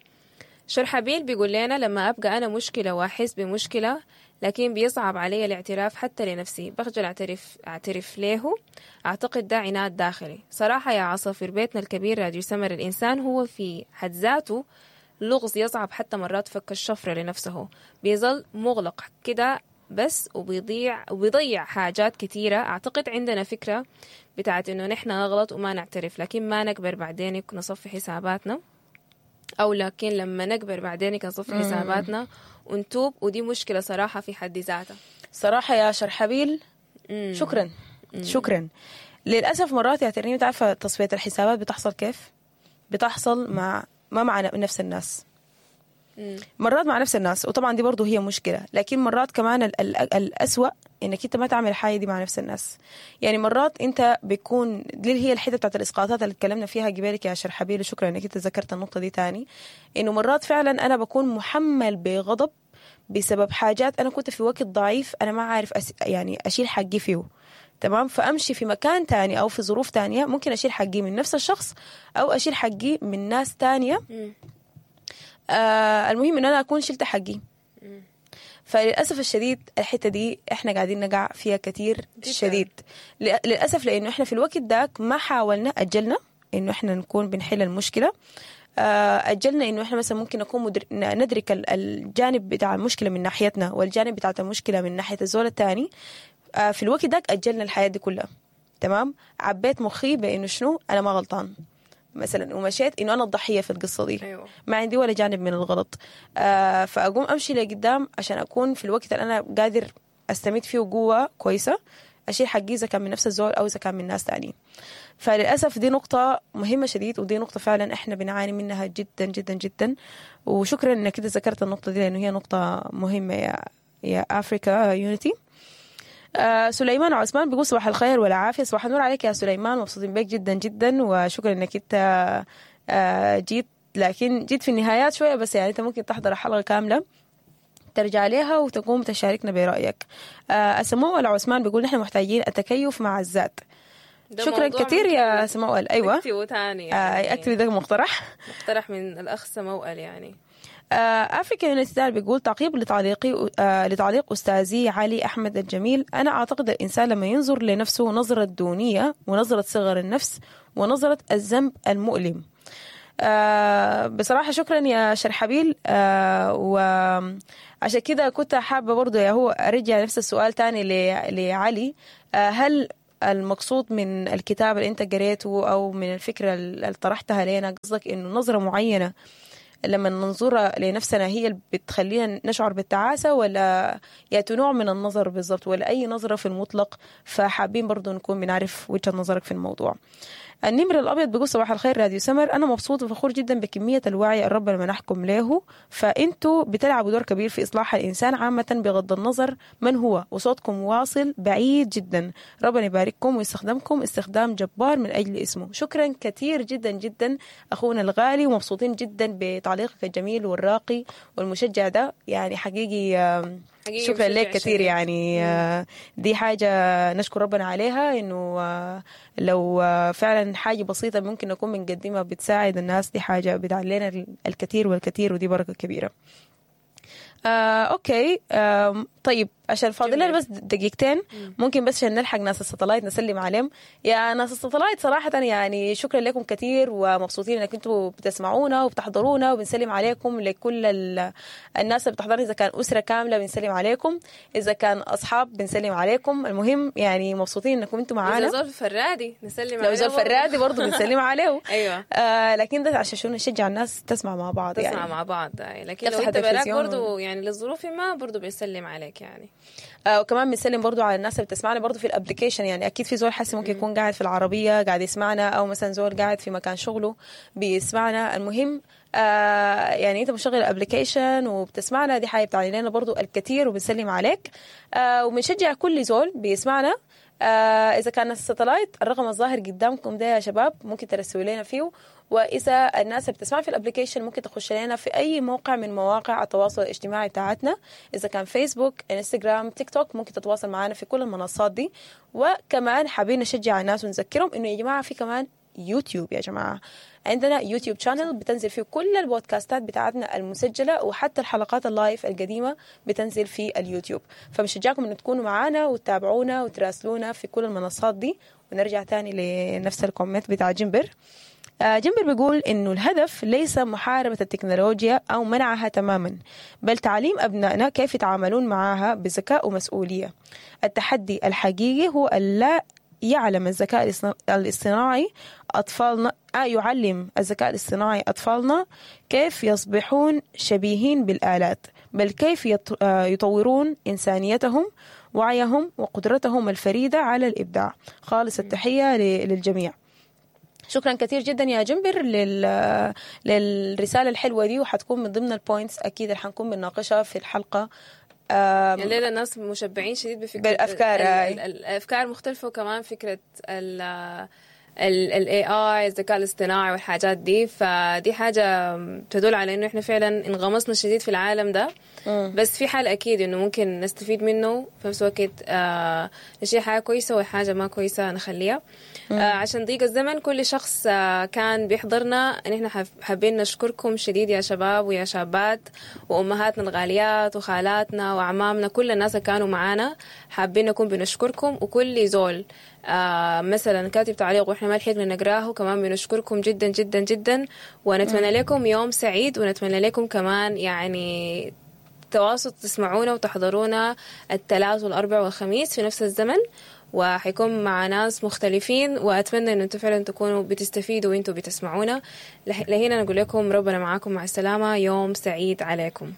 [SPEAKER 2] شرحبيل بيقول لنا لما أبقى أنا مشكلة وأحس بمشكلة، لكن بيصعب علي الاعتراف حتى لنفسي، بخجل أعترف أعترف له. أعتقد ده عناد داخلي صراحة. يا عصافير بيتنا الكبير راديو سمر، الإنسان هو في حد ذاته لغز يصعب حتى مرات فك الشفرة لنفسه، بيظل مغلق كده بس، وبيضيع وبيضيع حاجات كثيرة. أعتقد عندنا فكرة بتاعت إنه نحن نغلط وما نعترف، لكن ما نكبر بعدين نصفي حساباتنا، أو لكن لما نكبر بعدين نصفي حساباتنا ونتوب، ودي مشكلة صراحة في حد ذاتها.
[SPEAKER 1] صراحة يا شرحبيل
[SPEAKER 2] مم.
[SPEAKER 1] شكرا شكرا. للأسف مرات يا ترنيم تعرفة تصفية الحسابات بتحصل كيف؟ بتحصل مع ما مع نفس الناس،
[SPEAKER 2] مم.
[SPEAKER 1] مرات مع نفس الناس، وطبعا دي برضو هي مشكلة. لكن مرات كمان ال ال الأسوأ انك انت ما تعمل الحاجة دي مع نفس الناس. يعني مرات انت بيكون دي هي الحتة بتاعت الإسقاطات اللي اتكلمنا فيها قبالك يا شرحبيل، وشكرا انك انت ذكرت النقطة دي تاني، انه مرات فعلا انا بكون محمل بغضب بسبب حاجات انا كنت في وقت ضعيف، انا ما عارف أس... يعني اشيل حقي فيه، تمام؟ فامشي في مكان تاني او في ظروف تانية ممكن اشيل حقي من نفس الشخص او اشيل حقي من ناس تانية.
[SPEAKER 2] مم.
[SPEAKER 1] آه المهم ان انا اكون شلت حقي. فللاسف الشديد الحتة دي احنا قاعدين نقع فيها كتير
[SPEAKER 2] جداً.
[SPEAKER 1] شديد للاسف، لانه احنا في الوقت داك ما حاولنا، اجلنا انه احنا نكون بنحل المشكلة، اجلنا انه احنا مثلا ممكن نكون مدر... ندرك الجانب بتاع المشكلة من ناحيتنا والجانب بتاع المشكلة من ناحية الزول الثاني. في الوقت داك اجلنا الحياة دي كلها، تمام؟ عبيت مخي بانه شنو انا ما غلطان مثلا، ومشيت انه انا الضحية في القصة دي.
[SPEAKER 2] أيوة.
[SPEAKER 1] ما عندي ولا جانب من الغلط. آه فاقوم امشي لقدام عشان اكون في الوقت اللي انا قادر استمد فيه قوة كويسة، اشيل حقي اذا كان من نفس الزول او اذا كان من ناس تانيين. فللاسف دي نقطة مهمة شديد، ودي نقطة فعلا احنا بنعاني منها جدا جدا جدا. وشكرا انك كده ذكرت النقطة دي لانه هي نقطة مهمة يا يا Africa Unity. آه سليمان عثمان بيقول صباح الخير والعافية. صباح النور عليك يا سليمان، مبسوطين بك جدا جدا، وشكرا انك انت آه جيت، لكن جيت في النهايات شوية بس، يعني انت ممكن تحضر الحلقة كاملة ترجع لها وتقوم تشاركنا برأيك. آه سموأل عثمان بيقول نحن محتاجين التكيف مع الذات.
[SPEAKER 2] ده
[SPEAKER 1] شكرا
[SPEAKER 2] موضوع
[SPEAKER 1] كثير يا سموأل. ايوه
[SPEAKER 2] نكتبه تاني
[SPEAKER 1] آه
[SPEAKER 2] يعني.
[SPEAKER 1] اكتبي ده مقترح.
[SPEAKER 2] مقترح من الأخ سموأل يعني.
[SPEAKER 1] افريكا يونيتي بيقول تعقيب لتعليقي آه لتعليق استاذي علي احمد الجميل، انا اعتقد الانسان لما ينظر لنفسه نظره دونية ونظره صغر النفس ونظره الذنب المؤلم. آه بصراحة شكرا يا شرحبيل. آه وعشان كده كنت حابة برضو يا هو ارجع نفس السؤال تاني ل- لعلي. آه هل المقصود من الكتاب اللي انت قريته او من الفكرة اللي طرحتها لنا قصدك انه نظره معينة لما ننظرها لنفسنا هي اللي بتخلينا نشعر بالتعاسة، ولا يأتي نوع من النظر بالضبط، ولا أي نظرة في المطلق؟ فحابين برضو نكون بنعرف وجهة نظرك في الموضوع. النمر الأبيض بيقول صباح الخير راديو سمر، أنا مبسوط وفخور جدا بكمية الوعي الرب اللي منحكم له، فأنتوا بتلعبوا دور كبير في إصلاح الإنسان عامة بغض النظر من هو، وصوتكم واصل بعيد جدا، ربنا يبارككم ويستخدمكم استخدام جبار من أجل اسمه. شكرا كثير جدا جدا أخونا الغالي، ومبسوطين جدا بتعليقك الجميل والراقي والمشجع ده، يعني حقيقي آم،
[SPEAKER 2] حقيقي
[SPEAKER 1] شكرا لك
[SPEAKER 2] مشجع
[SPEAKER 1] كثير
[SPEAKER 2] شديد.
[SPEAKER 1] يعني. آه، دي حاجة نشكر ربنا عليها، إنه آه، لو آه، فعلا حاجة بسيطة ممكن نكون بنقدمها بتساعد الناس، دي حاجة بتعلينا الكثير والكثير، ودي بركة كبيرة. آه، okay. آم، طيب عشان فاضل لنا
[SPEAKER 2] جميل.
[SPEAKER 1] بس دقيقتين، ممكن بس عشان نلحق ناس ال satellite نسلم عليهم. يا ناس ال satellite صراحة يعني شكرا لكم كثير، ومبسوطين انك انتم بتسمعونا وبتحضرونا، وبنسلم عليكم لكل ال... الناس اللي بتحضرنا، اذا كان أسرة كاملة بنسلم عليكم، اذا كان اصحاب بنسلم عليكم. المهم يعني مبسوطين انكم انتم
[SPEAKER 2] إذا
[SPEAKER 1] معانا.
[SPEAKER 2] زول فرادي نسلم
[SPEAKER 1] لو
[SPEAKER 2] عليه
[SPEAKER 1] زول
[SPEAKER 2] برضو.
[SPEAKER 1] فرادي برضه بنسلم عليه.
[SPEAKER 2] أيوة
[SPEAKER 1] آه لكن ده عشان شنو نشجع الناس تسمع مع بعض
[SPEAKER 2] تسمع
[SPEAKER 1] يعني.
[SPEAKER 2] مع بعض آي. لكن لو
[SPEAKER 1] تفتح
[SPEAKER 2] انت براك
[SPEAKER 1] التلفزيون
[SPEAKER 2] برضو يعني للظروف ما برضو بيسلم عليك يعني.
[SPEAKER 1] آه وكمان بنسلم برضو على الناس اللي بتسمعنا برضو في ال application، يعني اكيد في زول حاسس ممكن يكون قاعد في العربية قاعد يسمعنا، او مثلا زول قاعد في مكان شغله بيسمعنا. المهم آه يعني انت مشغل ال application وبتسمعنا، دي حاجة بتعني لنا برضو الكثير، وبنسلم عليك. آه وبنشجع كل زول بيسمعنا. آه اذا كان ال satellite الرقم الظاهر قدامكم ده يا شباب ممكن ترسلوا لنا فيه، واذا الناس اللي بتسمع في ال application ممكن تخش لنا في اي موقع من مواقع التواصل الاجتماعي بتاعتنا، اذا كان فيسبوك، انستغرام، تيك توك، ممكن تتواصل معنا في كل المنصات دي. وكمان حابين نشجع الناس ونذكرهم انه يا جماعة في كمان يوتيوب، يا جماعة عندنا يوتيوب channel بتنزل فيه كل البودكاستات بتاعتنا المسجلة، وحتى الحلقات ال live القديمة بتنزل في اليوتيوب. فبشجعكم ان تكونوا معانا وتتابعونا وتراسلونا في كل المنصات دي. ونرجع تاني لنفس ال comment بتاع جنبر. آه، جنبر بيقول إنه الهدف ليس محاربة التكنولوجيا أو منعها تماما، بل تعليم أبنائنا كيف يتعاملون معها بذكاء ومسؤولية. التحدي الحقيقي هو ألا يعلم الذكاء الاصطنا- الاصطناعي أطفالنا آه يعلم الذكاء الاصطناعي أطفالنا كيف يصبحون شبيهين بالآلات، بل كيف يط- آه، يطورون إنسانيتهم، وعيهم، وقدرتهم الفريدة على الإبداع. خالص التحية ل- للجميع. شكرا كثير جدا يا جنبر لل... للرسالة الحلوة دي، وحتكون من ضمن ال points أكيد اللي حنكون بنناقشها في الحلقة. آم،
[SPEAKER 2] الليلة الناس مشبعين شديد بفكرة
[SPEAKER 1] بالأفكار،
[SPEAKER 2] ال-
[SPEAKER 1] آي.
[SPEAKER 2] ال- الأفكار مختلفة، وكمان فكرة ال ال A I الذكاء الاصطناعي والحاجات دي، فدي حاجة تدل على انه احنا فعلا انغمسنا شديد في العالم ده. بس في حال اكيد انه ممكن نستفيد منه في نفس الوقت، آه نشيل حاجة كويسة وحاجة ما كويسة نخليها. آه عشان ضيق الزمن، كل شخص آه كان بيحضرنا نحن حاب- حابين نشكركم شديد يا شباب ويا شابات وامهاتنا الغاليات وخالاتنا وأعمامنا، كل الناس اللي كانوا معانا حابين نكون بنشكركم. وكل زول آه مثلا كاتب تعليق واحنا ما لحقنا نقراه كمان بنشكركم جدا جدا جدا، ونتمنى لكم يوم سعيد، ونتمنى لكم كمان يعني تواصل تسمعونا وتحضرونا الثلاث والأربع والخميس في نفس الزمن، وحيكون مع ناس مختلفين، وأتمنى أن أنتم فعلا تكونوا بتستفيدوا وأنتم بتسمعونا. لهنا نقول لكم ربنا معاكم، مع السلامة، يوم سعيد عليكم.